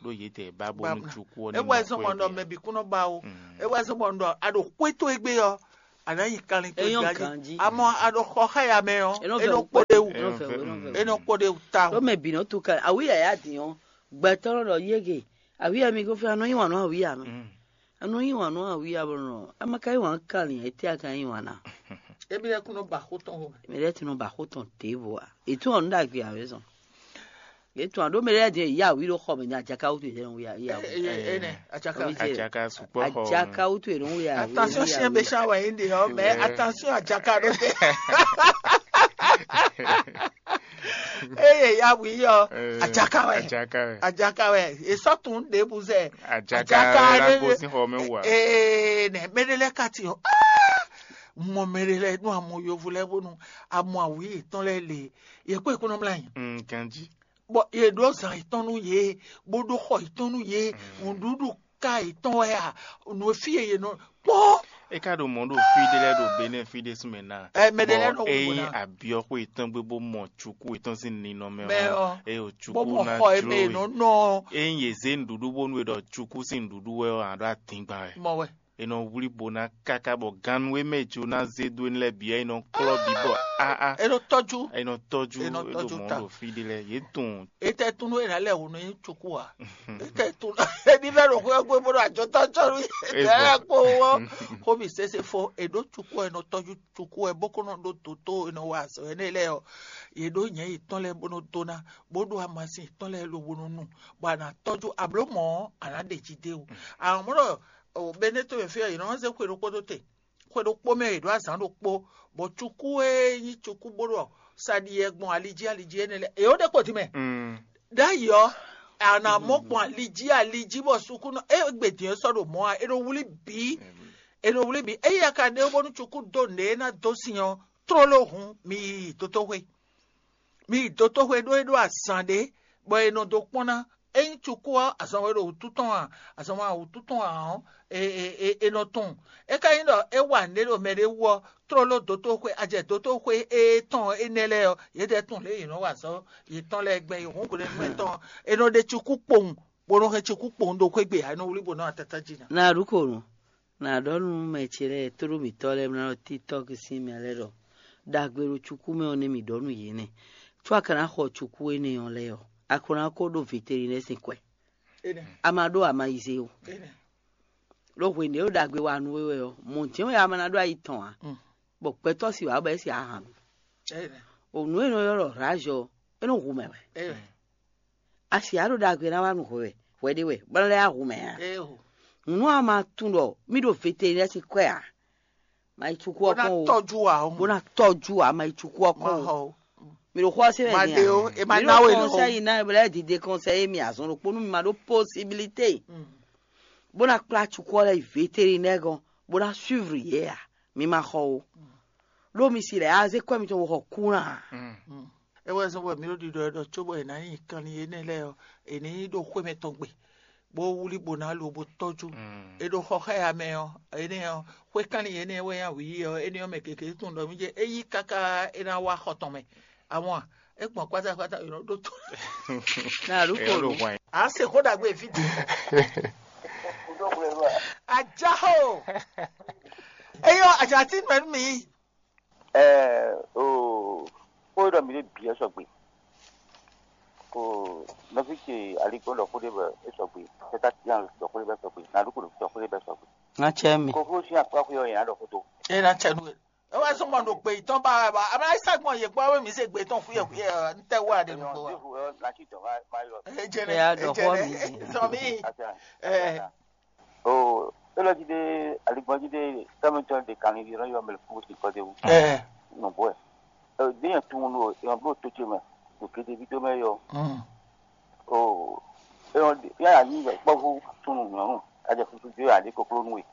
Ɖó yědɛɛ ba bónú cukú ɔ́ ní. É wɛ zɔn mɔ ɖɔ mɛ bǐ kún nɔ ba ó. É wɛ zɔn mɔ ɖɔ a ɖo xwé towe gbe ɔ́, a nǎ yi kanlin towe ganjí. Amɔ a ɖo xɔ xá ya mɛ ɔ́, é nɔ kpó ɖe wú. É nɔ kpó ɖe wú ta. Ɖó mɛ bǐ nɔ tu kanlin. Awǐ yǎyá din ɔ́, gbɛtɔ́ nɔ ɖɔ yége. Awǐ ya mi gɔ́n fí, a nɔ yí wǎn nú awǐ ya mɛ. A nɔ yí wǎn nú awǐ ya bɔ nɔ, a ma ka yí wǎn kanlin, étɛ́ a ka yí wǎn ná? Émi lɛ́ɛ kún nɔ ba xó tɔn xo mɛ. Mɛ lɛ́ɛ tún nɔ ba xó tɔn ɖěvo a? È tún ɔ́ nú ɖagbe ǎ wɛ zɔn. Yě tún aɖó mɛ lɛ́ɛ din ya wǐ ɖo xɔ mɛ, nya jaka wútu yě lɛ́ɛ ya wǐ. Ene ajaka. Ajaka sukpɔ xɔ. Ajaka wútu yě nɔ wí ya. Attention, chien méchant wɛ yín ɖe ɔ́, mais attention, ajaka ɖó tɛ. Eye ya wǐ ɔ́, ajaka wɛ. Ajaka wɛ. Ajaka wɛ. Esɔ tun ɖe bu zɛ. Ajaka la bo sín xɔ mɛ wú a? Ee, nɛ mɛ ɖé lɛ́ɛ ka ti ɔ́. Mɔ mɛ ɖé lɛ́ɛ nú amɔ yovo lɛ́ɛ bónú amɔ awǐ yětɔn lɛ́ɛ le. Yě kó yě kó nɔ mlá nyi. Ganjí. Bɔ yě ɖó zan yětɔn nú yě, bó ɖó xɔ yětɔn nú yě, nǔɖuɖu ka yětɔn wɛ a, nǔ e fí e yě nɔ kpɔ́n. É ka ɖo mɔ̌ ɖo fí ɖé lɛ́ɛ ɖo Benɛ́ɛ fí ɖé súnmɛ ná. Ɛ, mɛ ɖé lɛ́ɛ nɔ wú ná. Ényí abyɔ́xwé yětɔn gbé bó mɔ cukú yětɔn sín ninɔmɛ ɔ́, eye cukú ná jló we. Ényí yě zé nǔɖuɖu bónú è ɖɔ cukú sín nǔɖuɖu wɛ ɔ́, a ɖó adingban wɛ. Mɔ wɛ. È nɔ wlí bo ná káká bɔ gannú e mɛ Jona zé dó énɛ́ lɛ́ɛ bǐ ɔ́, è nɔ klɔ́ bǐ bɔ áá. È nɔ tɔ́jú. È nɔ tɔ́jú. È nɔ tɔ́jú ta. Ɖo mɔ̌ ɖo fí ɖé lɛ́ɛ, yě tunwun. Etɛ tún nú è nǎ lɛ wǔ nú nyí cukú a? Etɛ tún ní vɛ ɖo xwé gbé bó ɖo ajɔtɔ́ cɔ́ nú etɛ kpó wɔ. Xómi sese fo, è ɖó cukú ɔ́, è nɔ tɔ́jú cukú ɔ́, bó kó nɔ ɖó dǒtó, è nɔ wa azɔ̌ énɛ́ lɛ́ɛ ɔ́, yě ɖó nyɛ̌ yětɔn lɛ́ɛ bó nɔ dó ná, bó ɖó amasin yětɔn lɛ́ɛ lobo nɔ nu, bɔ a nǎ tɔ́jú ablǒ mɔ̌ ɔ́, a nǎ ɖe jí d'é wú. Amɔ̌ ɖɔ o Benɛ́ɛ to mɛ fí ɔ́, yě nɔ wá zé xwe ɖokpó dó te. Xwe ɖokpó mɛ è ɖǒ azǎn ɖokpó, bɔ cukú e nyí cukú bó ɖɔ sa ɖi yɛ gbɔn ali jí ali jí énɛ́ lɛ́ɛ, è ó ɖe kpo din mɛ. Ɖ'ayǐ ɔ́, a nǎ mɔ gbɔn ali jí ali jí bɔ sukúnɔ e gbe din ɔ́ sɔ́ ɖo mɔ̌ ǎ, è nɔ wlí bǐ, è nɔ wlí bǐ. Ényí a ka ɖe bónú cukú dó nǔɖé e ná dó sin ɔ́, tlóló hǔn mi yi dotóxwé. Mi yi dotóxwé ɖó é ɖó azǎn ɖé, bɔ è nɔ dó kpɔ́n ná. Ényí cukú ɔ́, azɔn wɛ ɖo wǔtu tɔn a, azɔn wɛ wǔtu tɔn a ɔ́, è nɔ tunwun. É ka nyí ɖɔ é wa nǔɖé ɖo mɛɖé wú ɔ́, tlóló dotóxwé, a jɛ dotóxwé étɔn énɛ́ lɛ́ɛ ɔ́, yědɛɛ tunwun lě e yě nɔ wa azɔ̌ yětɔn lɛ́ɛ gbɛn yi hǔn hwlɛ́ngbɛ́n tɔn ɔ́, è nɔ ɖe cukú kpowun, bó nɔ hɛn cukú kpowun ɖo xwé gbe ǎ, é nɔ wlí bǒ nɔ atatá jí ná. Na ɖu ko nú, na ɖɔ nú mɛ ce lɛ́ɛ, tóɖó mǐtɔn lɛ́ɛ, na ɖɔ TikTɔ́k sín mɛ lɛ́ɛ ɖɔ, ɖagbe ɖo cukú mɛ ɔ́ nɛ́ mǐ ɖɔ nú yě nɛ́. Có a ka ná xɔ cukú énɛ́ ɔ́ lɛ́ɛ ɔ́, a ko ná ko ɖó vetelinɛ́ sín kwɛ. A ma ɖó amayize ó. Ɖó hwenu e ɖo ɖagbe wa nú we wɛ ɔ́, mɔ̌ jɛ́n wɛ a ma ná ɖó ayi tɔn ǎ, bɔ gbɛtɔ́ si wǎ bɔ é si ahan nú. O nǔ e nɔ ylɔ́ ɖɔ rǎzɔ, é nɔ hu mɛ wɛ. A si a ɖo ɖagbe ná wá nu hwɛ wɛ, hwɛ ɖé wɛ, bɔ é lɛ́ wá hu mɛ ǎ. Nǔ a ma tunwun ɖɔ mì ɖo vetelinɛ́ sín kwɛ ǎ, ma yi cukú ɔ́ kɔn o. Tɔ́jú wa ɔ́. Bó ná tɔ́jú wa, ma yi cukú ɔ́ kɔn o. Mi ɖo xɔ ɔ́ se wɛ. Ma ɖe o, e ma ná we lɔ. Conseil ná bla dide conseil mi azɔn ɖokpó nú mi ma ɖó possibilité. Bó ná kplá cukú ɔ́ lɛ́ yi vétérinaire gɔn, bó ná suivre yě a, mi ma xɔ o. Ɖó mi si lɛ́ azé kwɛ́ mitɔn wɔ xɔ kú ná. É wɛ zɔ́n bɔ mǐ ɖo ɖiɖɔ ɛ ɖɔ cóbɔ è nǎ nyi kanlin énɛ́ lɛ́ɛ ɔ́, è nǐ ɖo xwé mɛtɔn gbe, bó wlí bó ná lo bó tɔ́jú. È ɖo xɔ xá ya mɛ ɔ́, énɛ́ ɔ́, xwé kanlin énɛ́ wɛ nyí awǐ ɔ́, énɛ́ ɔ́ mɛ gěgé tunwun ɖɔ mì jɛ é yí káká é ná wá xɔ tɔn mɛ. Àwọn a, é gbɔn kpátákpátá è nɔ ɖó tó. Ná a ɖó kó Èèyàn ló nu. Hwan yín. À ń ṣe kó dàgbé fídíò. Ajá o. Eyɔ àjàtí mẹ́nu mi. Ɛ o, kó ɖɔ mi ɖe bǐ ɛ sɔgbe. Ko nɔvi ce aligbɔn ɖɔ xó ɖé bɔ é sɔgbe. Tɛta tian ɖɔ xó ɖé bɛ sɔgbe. Naɖu ko ɖɔ xó ɖé bɛ sɔgbe. Ŋa cɛ mi. Koklo sín akpá xwé ɔ́ yɛn á ɖɔ xó tó. É ná cɛ nú we. É wá zɔ́n mɔ ɖo gbe yětɔn ba ba amlá yí sá gbɔn yé gbɔ wé mi se gbe tɔn xwíyɛ xwíyɛ ntɛ wá ɖe nugbo wa. Ejene ejene sɔmi. O, é lɔ jí ɖé aligbɔn jí ɖé tɔmɛtɔ ɖe kan ní yɔrɔ yɔ mɛlɛ fún sí kɔdé wú. Nɔ bɔ ɛ. Ɛ, ɖé yẹn tún nú ɔ yɔn bló tó ce mɛ, ɖo kéde ví tó mɛ yɔ. O, é yɔn yà ní yɛ kpɔ́ fún tún nù nyɔnu, a jɛ fúnfún jó yà ní koklo nú we.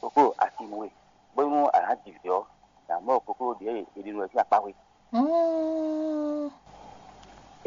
Koklo asi nú we. Bónú a nǎ ji vǐ ɔ́, nǎ mɔ koklo ɖě e ɖi nú ɛ sín akpá we.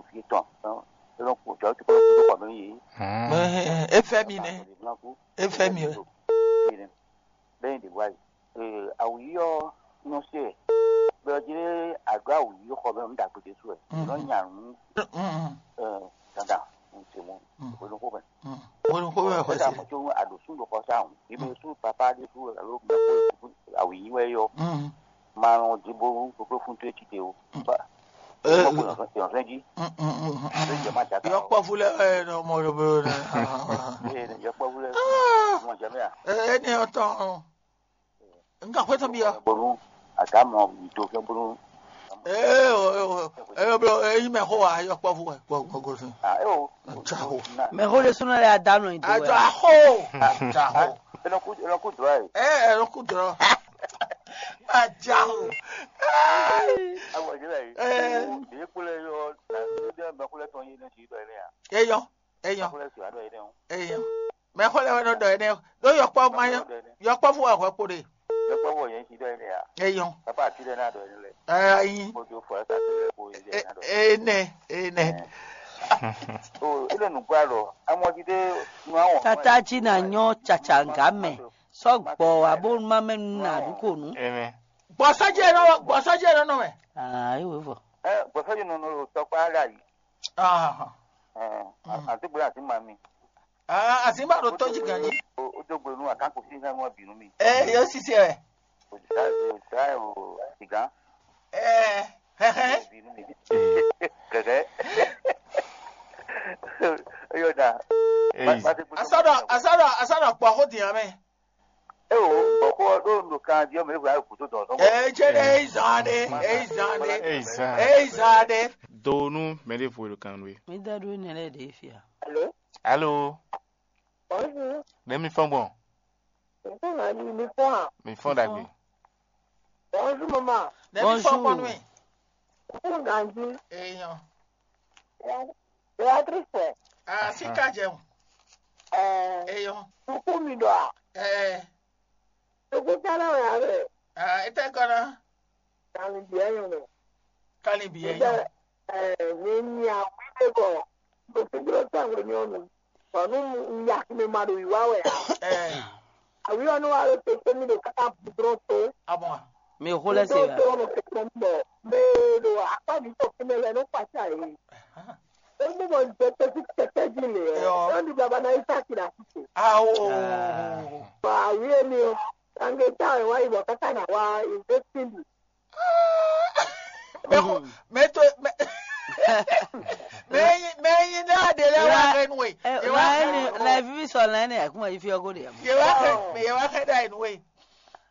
ɖo fí tɔn. É nɔ kó jɔ tó kó tó kɔ nɔ yé. É fɛ mi nɛ. É fɛ mi wɛ. Bẹ́ẹ̀ ni wáyé. Awu yí ɔ́ nɔ se ɛ. Bẹ́ẹ̀ jí àgọ́ awu yí xɔ bẹ́ẹ̀ ń dàgbé dé sú ẹ̀. Nɔ nya nù. Dandan ń se mọ́. Ìwé ló kó bẹ́ẹ̀. Wọ́n kó bẹ́ẹ̀ xɔ sí. Àmọ́ tó àdó sún ló kọ sáà. Ibi sú papá dé sú ẹ̀ ló mọ̀ kó awu yí wẹ́ yọ. Máa rán ọdún bó gbogbo fún tó ti dé o. Ìrànfẹ́ jí. Yɔkpɔvu lɛ ɛ nɔ mɔ ɖo blo nɛ. Yɔkpɔvu lɛ mɔ jɛmɛ a. Ɛ ní ɔtɔn. Nka xwé tɔn bi ya. Bonu aga mɔ do fɛn bonu. Ee o ee o ee o blo eyi mɛ xo wa yɔkpɔvu wɛ gbɔ gbɔ gbɔ fɛn. Ah ee o. Ajaho. Mɛ xo ɖe súnɔ lɛ adá nɔ yi do wɛ. Ajaho. Ajaho. Ẹ lọ kú ẹ lọ kú dùrọ̀ yìí. Ẹ ẹ lọ kú dùrọ̀. Ajaho. Awọ ìdílé yìí. Ẹ. Ìdílé kúlẹ̀ yọ ìdílé mẹ́kúlẹ̀ tán yé ní ti dọ̀ yìí ní yà. Eyɔn. Eyɔn. Mɛxó lɛ́ɛ wɛ nɔ ɖɔ énɛ́ ɖó yɔkpɔ́vú ma nyɔ́. Yɔkpɔ́vú wɛ hwɛ kpo ɖe. Yɔkpɔ́vú yɛn si ɖɔ énɛ́ a? Eyɔn. Papa ati ɖe ná ɖɔ énɛ́ lɛ. Ayi. Kojú fɔ ɛsɛ ati lɛ kó yɛ ná ɖɔ. Énɛ́ énɛ́. O ilé nùgbà lɔ amɔdídé nu awɔ. Tata jí na nyɔ́ caca gǎ mɛ sɔ́ gbɔ abónúmá mɛ nú nà ɖu kò nú. Gbɔsɔ́jɛ nɔ gbɔsɔ́jɛ nɔ nɔ mɛ. Ayi wò vɔ. Ɛ gbɔsɔ́jɛ nɔ nɔ tɔkpa ɖe ayi. Àti gbé àti mami. Àti má ɖo tɔ́jú gan jí. Ó dó gbé nú àkákò sí nínú ọ̀bìnú mi. Ẹ yóò ṣiṣẹ́ rẹ̀. Òṣìṣẹ́ òṣìṣẹ́ ò sìgá. Ẹ hẹ́hẹ́. Ọ̀bìnú mi. Gẹ̀gẹ́. Yóò dà. Asọ́dọ̀ asọ́dọ̀ asọ́dọ̀ pọ̀ kó dìyàn mẹ́. E o, bɔkɔ ɖo nɔ kan di ɔmɛ ewa kutu dɔn dɔn. Ejere eizane, eizane, eizane. Donu mɛɖe vo ɖo kan nue. Mi da ɖo ne lɛ ɖe fia. Allô? Allô? Bonjour. Ne mi fɔn gbɔn? Nfɔn na mi mi fɔn a? Mi fɔn dagbe. Bonjour maman. Ne mi fɔn gbɔn nue. Nfɔn ganji. Eyan. Beatrice. Ah, si ka jẹun. Eh, eyan. Tukú mi ɖɔ a? Eh. Tukú tɛnɛ wɛ a bɛ? Ah, ete kɔnɔ. Kani biɛ yɔn mɛ. Kani biɛ yɔn. Mi nya wi de bɔ. Tukú dro tɛ wɛ nyɔnu. Bɔnu ya mi ma ɖo yi wa wɛ a? Eh. Awi ɔnu wa ɖo tete mi ɖo kaka budrɔn to. Abɔn. Mi xo lɛ se. Budrɔn to ɔnu kekpe bɔ. Mɛ ɖo akpa mi tɔ fúnɛ lɛ no kpatsa yi. Emi bɔ jɛ tɛsi tɛtɛ ji le ɛ. Yɔ. Emi baba na isa kira sise. Awo. Ba awie mi o. Tange ta ɛ wa yi bɔ kaka na wa investing. Mɛ ko mɛ to mɛ. Mɛ yi mɛ yi na de lɛ wa kɛ nu ye. Ye wa kɛ nu. La vivi sɔ la ne akuma yi fi ɔgo de. Ye wa kɛ ye wa kɛ da nu ye.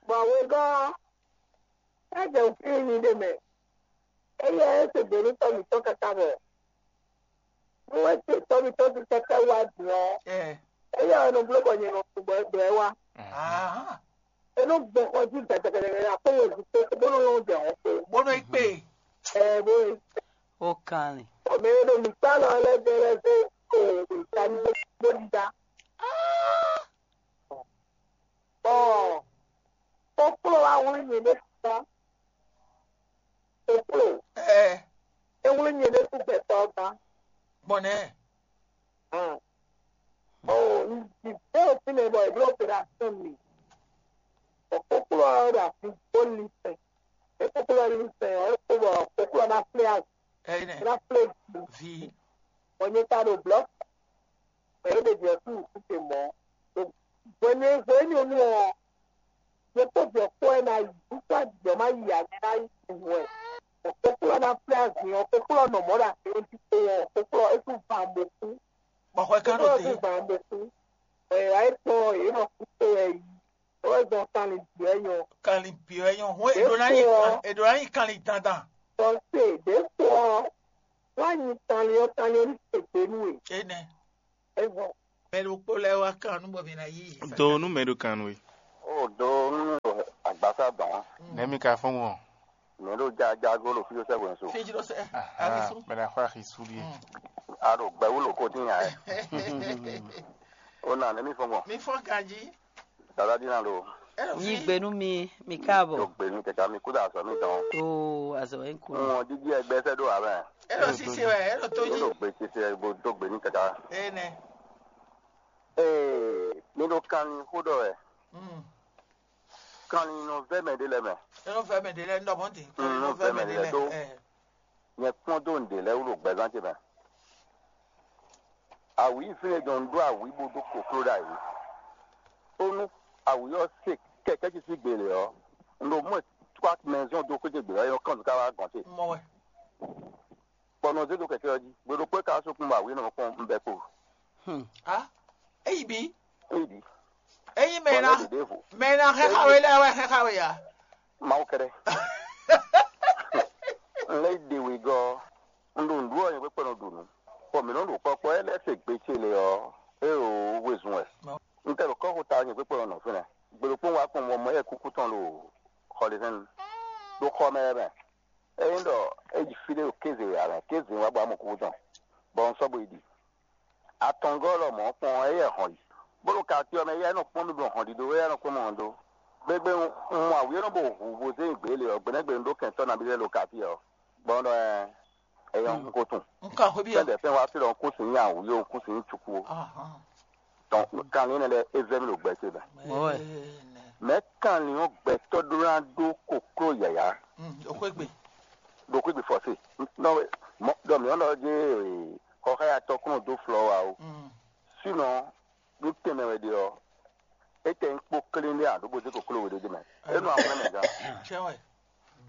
Bɔn wegɔn ɛ jɛ òfin mi de mɛ. Eye ɛ se gbenu tɔ mi tɔ kaka bɔ. Nú é se tɔ́mítɔ́ sín kɛ́kɛ́ wá din ɔ́, éyɛ́ wɛ nɔ bló bɔ nyɛ nɔ tunwun bɔ é blɛ́ wá. É nɔ gbɔn xɔ jí gɛdɛgɛdɛ akpó wezun kpé bó nɔ lɔn jɛ hɔn kpé. Bó nɔ yi kpé. Ɛ bó e. Ó kan ni. Bɔ mɛ e ɖo mǐ kpá lɔ lɛ́ɛ bɛ́ lɛ́ɛ dó o mǐ ta ní bó ɖíɖá. Bɔ kókló wá wlí nyɛ ɖé tɔ́. Kókló. Ɛ. É wlí nyɛ ɖésú gbɛtɔ́ ɔ́ gán. Gbɔn nɛ́. Hɛn. Oo, un ji bɛ́ fínɛ́ bɔ è bló opération mi. Bɔ kókló ɔ́ ɖo afi bó lin sɛn. É kókló ɔ́ lin sɛn ɔ́, é kó bɔ kókló ɔ́ ná flé azɔ̌. Ɛyinɛ. É ná flé vi. Bɔ nyɛ ka ɖo blɔ̌. Bɔ é ɖe jɛ kú kú te mɔ̌. Hwenu e hwenu énɛ́ ɔ́, nyɛ kpó vǐ ɔ́ kpó wɛ ná yi. Jɔ má yi ǎ, mɛ ná yi hwɛ. Kókó ɔ́ ná flɛ́ azin ɔ́, kókó ɔ́ nɔ mɔ̌ ɖo azin ɔ́ jí kpowun ɔ́, kókó ɔ́ é sú van bó kú. Bɔ xwɛ kán ɖo Kókó ɔ́ te. Sú van bó kú. Ɛ wá é tɔn ɔ́, yě nɔ kú kpé wɛ yi. Ó wɛ gbɔn kanlin bǐ wɛ nyɔ. Kanlin bǐ wɛ nyɔ. Hɔn èɖò ná nyí Ɖésú ɔ́, èɖò ná nyí kanlin dandan. Tɔn se ɖě kpó ɔ́, wá nyi kanlin ɔ́, kanlin ɔ́ ní se gbe nú we. Énɛ́. É vɔ. Mɛ ɖokpó lɛ́ɛ wá kan nú bɔ mǐ ná yí. Do nú mɛ ɖo kan nú we. O do nú agbasa dɔn. Nɛmi ka fɔn wɔn. Mɛ ɖo jajago ɖo fíɖó sɛgbɛn so. Fíjló sɛ. Ahisu. Mɛ ɖo axɔ ahisu ɖie. A ɖo gbɛwú ɖo kó dín nya ɛ. O na nɛmi fɔn wɔn. Mi fɔn ganji. Dada dín na ɖo. Yí gbe nú mi, mi káàbọ̀. Ɖo gbe mi kɛkɛ mi kú da azɔ mi dɔn. Oo, azɔ wɛ ń kú. Ŋun jíjí ẹgbẹ́ sẹ́ ɖo àwẹ̀. Elo sisi wɛ, elo tó Ní jí. Ɖo gbe tete bo dó gbe ní kɛkɛ. Ene. Ee, mi ɖo kanlin xó ɖɔ wɛ. Mm. Kanlin nɔ vɛ mɛ ɖé lɛ mɛ. Elo vɛ mɛ ɖé lɛ, ndɔ mɔnti. Mm, Kanlin nɔ nɔ vɛ vɛ mɛ mɛ ɖé ɖé lɛ lɛ. Do. Ɛ. Nyɛ kpɔ́n dó nǔɖé lɛ́ɛ wú ɖo gbɛzán ce mɛ. Awǐ fínɛ́ jɔ un ɖó awǐ bó dó kokló ɖ'ayǐ. Bónú awǐ ɔ́ se kɛkɛ́ ce sín gbe lě ɔ́, un ɖo mɔ ɛ twá mɛzɔn dó xwé ce gbe ɔ́, é nɔ kán nǔ ká wá gɔ̌n ce. Mɔ wɛ. Bɔ nɔ zé dó kɛkɛ́ ɔ́ jí. Gbe ɖokpó é ka wá sɔ́ kún bɔ awǐ nɔ kpɔ́n un bɛ́ kpo. Hmm. A, eyi bi. Éyi ɖi. Eyi mɛ Bɔ na lɛ́ ɖě ɖěvo. Mɛ na xɛxa we lɛ wɛ xɛxa we ya. Mawu kɛɖɛ. Un lɛ́ ɖe wegɔ́ ɔ́, un ɖo nǔɖuɖu ɔ́ nyɔ̌ kpɛkpɛ nɔ ɖu nǔ. Bɔ mǐ nɔ ɖo kpɔ́kpɔ́ é lɛ́ɛ se gbe ce lě ɔ́, é ɖo wezun wɛ. Un tɛ ɖo kɔ́xota ɔ́ nyɔ̌ kpɛkpɛ nɔ nɔ fínɛ́. Gbe ɖokpó un wá kpɔ́n bɔ mɔ yɛ kúkú tɔn ɖo xɔlihɛ́nnu. Ɖo xɔ mɛ wɛ mɛ. Ényí ɖɔ é yi fí ɖé ɖo kéze wɛ ǎ mɛ, kéze wá bɔ amɔ kúkú tɔn. Bɔ un sɔ́ bo yi ɖi. Atɔngɔ́ lɔmɔ̌ kpɔn éyɛ́ hɔn yi, bó ɖo katíɔ mɛ éyɛ́ nɔ kpɔ́n mì ɖo hɔn ɖiɖo éyɛ́ nɔ kpɔ́n mì hɔn dó. Gbegbe un mɔ awǐ ɔ́ nɔ bo hu bo zé nyi gbě lě ɔ́, gbe nɛ́ gbe un ɖó kɛntɔ́ nabí lɛ́ɛ ɖo katíɔ ɔ́, bɔ un ɖɔ ɛ, é nyɔ́ un ko tunwun. Un kan xwé byɔ́. Fɛ́n ɖɛ̌ fɛ́n wá sí ɖɔ un kú sin nyi awǐ ó, un kú sin nyi cukú ó. Ahán. Dɔn kanlin énɛ́ lɛ́ɛ é vɛ́ mì ɖo gbɛ ce mɛ. Mɔ̌ wɛ. Mɛ̌ kanlin ɔ́ gbɛtɔ́ ɖó ná ɖó kokló yǎyá Mm, o xwé gbe. Ɖo xwé gbe fɔ́sé. Nɔ mɔ ɖɔ mǐ ɔ́ nɔ jé xɔxáyatɔ́ kún dó flɔ́ wa ó. Mm. Sínɔ nú tɛnmɛ wɛ ɖe ɔ́, é tɛ nyí kpó klín ɖé ǎ ɖó bó zé kokló we ɖé mɛ. É nɔ axlɛ́ mɛ gán. Cɛ́ wɛ.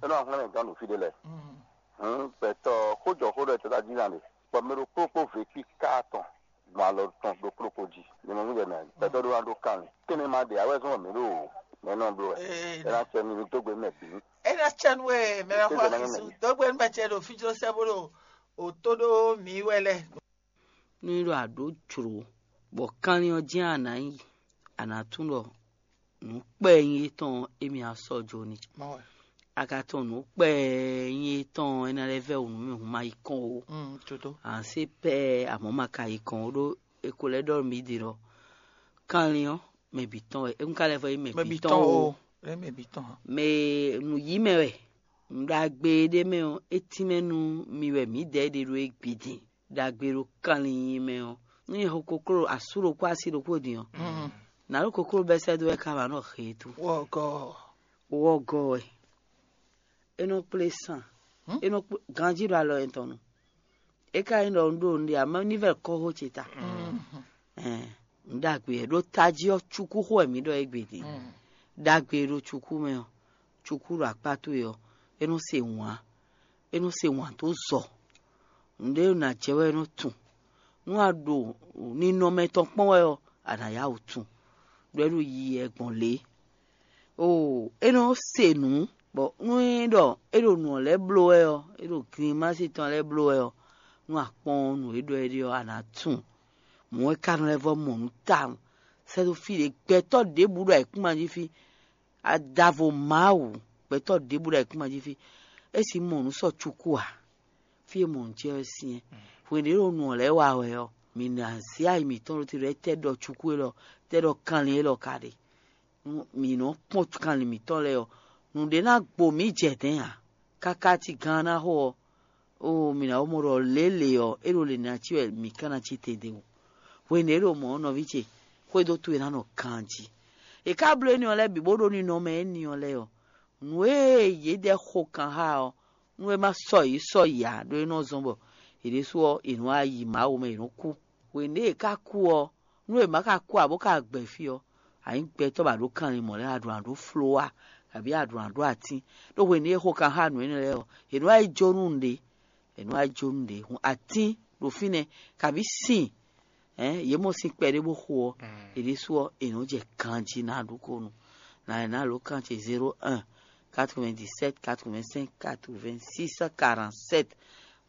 É nɔ axlɛ́ mɛ gán ɖo fí ɖé lɛ́ɛ. Mm. Hǔn gbɛtɔ́ xójɔxó ɖɔ tɔ́ jí ná ɖe, bɔ mɛ ɖokpó kpó vé kpí ká tɔn gbɔn alɔ tɔn ɖokpó ɖokpó jí. Nyɛ mɔ nú jɛ mɛ gbɛtɔ́ ɖó ná ɖó kanlin. Tɛnmɛ ma ɖe awɛ zɔn mɛ ɖo mɛ nɔ bló wɛ. Ee, É ná cɛ mi dó gbe mɛ bǐ. É ná cɛ nú we mɛ ná xɔ Kéze ná mɛ axisu. Dó gbe nú mɛ ce ɖo fí jló sɛ́ bó ɖo òtó ɖó mǐ wɛ lɛ́ɛ. Nú é ɖɔ a ɖǒ jlǒ, bɔ kanlin ɔ́ jɛ́n a nǎ yi, a nǎ tunwun ɖɔ nǔ kpɛɛ nyí étɔn ɔ́, émí ná sɔ́ jó n'i. Má wɛ. A ka tunwun nǔ kpɛɛ nyí étɔn ɔ́, é ná lɛ́ vɛ́ wǔ nú mì hǔn ma yi kɔn ó. Mm, Jodó. A nǎ se pɛ́ amɔ̌ ma ka yi kɔn ó, ɖó è ko lɛ́ ɖɔ nú mì ɖi ɖɔ kanlin ɔ́, mɛ bǐ tɔn wɛ. É ka lɛ́ vɔ nyí mɛ Mɛ bǐ bǐ tɔn tɔn ó. O. É mɛ bǐ tɔn. Mɛ nǔ yí mɛ wɛ. Nǔ ɖagbe ɖé mɛ ɔ́, é tínmɛ nú mi wɛ mǐdɛɛ ɖe ɖó é gbidin. Ɖagbe ɖo kanlin nyi mɛ ɔ́, nú nyɛ xo kokló asú ɖokpó así ɖokpó din ɔ́, nǎ ɖo kokló bɛ́ sɛ́ dó wɛ ká wǎ nɔ he e tú. Wɔgɔ. Wɔgɔ wɛ. É nɔ kplé sán. É nɔ kplé ganjí ɖo alɔ yɛn tɔn nu. É ka nyí ɖɔ un ɖo nǔɖé ǎ, mɛ ní vɛ́ kɔ́xó ce ta. Ɛn, nǔ ɖagbe wɛ ɖó tají ɔ́, cukúxó wɛ mǐ ɖɔ égbé din. Ɖagbe e ɖo cukú mɛ ɔ́, cukú ɖo akpá towe ɔ́, é nɔ se wǎn, é nɔ se wǎn dó zɔ. Nǔɖé nɔ jɛ wɛ é nɔ tunwun. Nú a ɖo ninɔmɛ tɔn kpɔ́n wɛ ɔ́, a nǎ yá wǔ tunwun, ɖó é ɖo yiyi wɛ gbɔn lě. Oo, é nɔ se nǔ, bɔ nú é ɖɔ é ɖo nǔ ɔ́ lɛ́ɛ bló wɛ ɔ́, é ɖo glinmási tɔn lɛ́ɛ bló wɛ ɔ́, nú a kpɔ́n nǔ e ɖɔ é ɖe ɔ́, a nǎ tunwun. Mɔ̌ é ka nɔ lɛ́ vɔ́ mɔ nǔ tawun. Sɛ́ dó fí ɖě gbɛtɔ́ ɖěbǔ ɖo ayǐkúngban jí fí. Adavo Mawu, gbɛtɔ́ ɖěbǔ ɖo ayǐkúngban jí fí. É sixú mɔ nǔ sɔ cukú ǎ. Fí e mɔ nǔ ce ɔ́ syɛ́n. Hwenu e ɖo nǔ ɔ́ lɛ́ɛ wa wɛ ɔ́, mǐ ná zé ayi mǐtɔn ɖó te ɖɔ étɛ́ ɖɔ cukú élɔ́, étɛ́ ɖɔ kanlin élɔ́ ka ɖe. Mǐ nɔ kpɔ́n kanlin mǐtɔn lɛ́ɛ ɔ́, nǔɖé ná gbo mǐ jɛ dɛ̌n ǎ. Káká cí gán ná xo ɔ́, oo, mǐ ná wó mɔ ɖɔ lělě ɔ́, é ɖo lě ná cí wɛ mǐ ka ná cí te ɖe o. Hwenu e é ɖo mɔ̌ ɔ́, nɔví ce, xwedó towe ná nɔ ganjí. È ká bló énɛ́ ɔ́ lɛ́ɛ bǐ bó ɖó ninɔmɛ énɛ́ ɔ́ lɛ́ɛ ɔ́, nǔ e yědɛɛ xo kan xá ɔ́, nú é má sɔ yě sɔ yě ǎ, ɖó é nɔ zɔ́n bɔ yě ɖésú ɔ́, è nɔ wá yi Mawu mɛ, è nɔ kú. Hwenu e è ká kú ɔ́, nú è má ka kú ǎ bó ka gbɛ fí ɔ́, Anyí gbɛtɔ́ ba ɖó kanlin mɔ̌ lɛ́ɛ, aɖǔ aɖó flowa, kabí aɖǔ aɖó atín. Ɖó hwenu e xo kan xá nǔ énɛ́ lɛ́ɛ ɔ́, è nɔ wá yi jó nú nǔɖé, è nɔ wá yi jó nǔɖé. Hun atín ɖo fínɛ́, kabí sin, yě mɔ sin kpɛɖé bó xo ɔ́, è ɖésú ɔ́, è nɔ jɛ ganjí ná ɖu ko nu. Ná è nǎ lǒ kan ce zéro un, quatre-vingt-dix-sept, quatre-vingt-cinq, quatre-vingt-six, quarante-sept.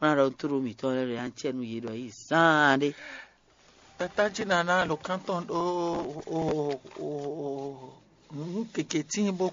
Wọ́n ná ɖɔ tló mǐtɔn lɛ́ɛ ɖo yá cɛ nú yě ɖɔ yí zaan ɖé. Tata jí nana lǒ kántɔn ɖó nǔ keke tín bó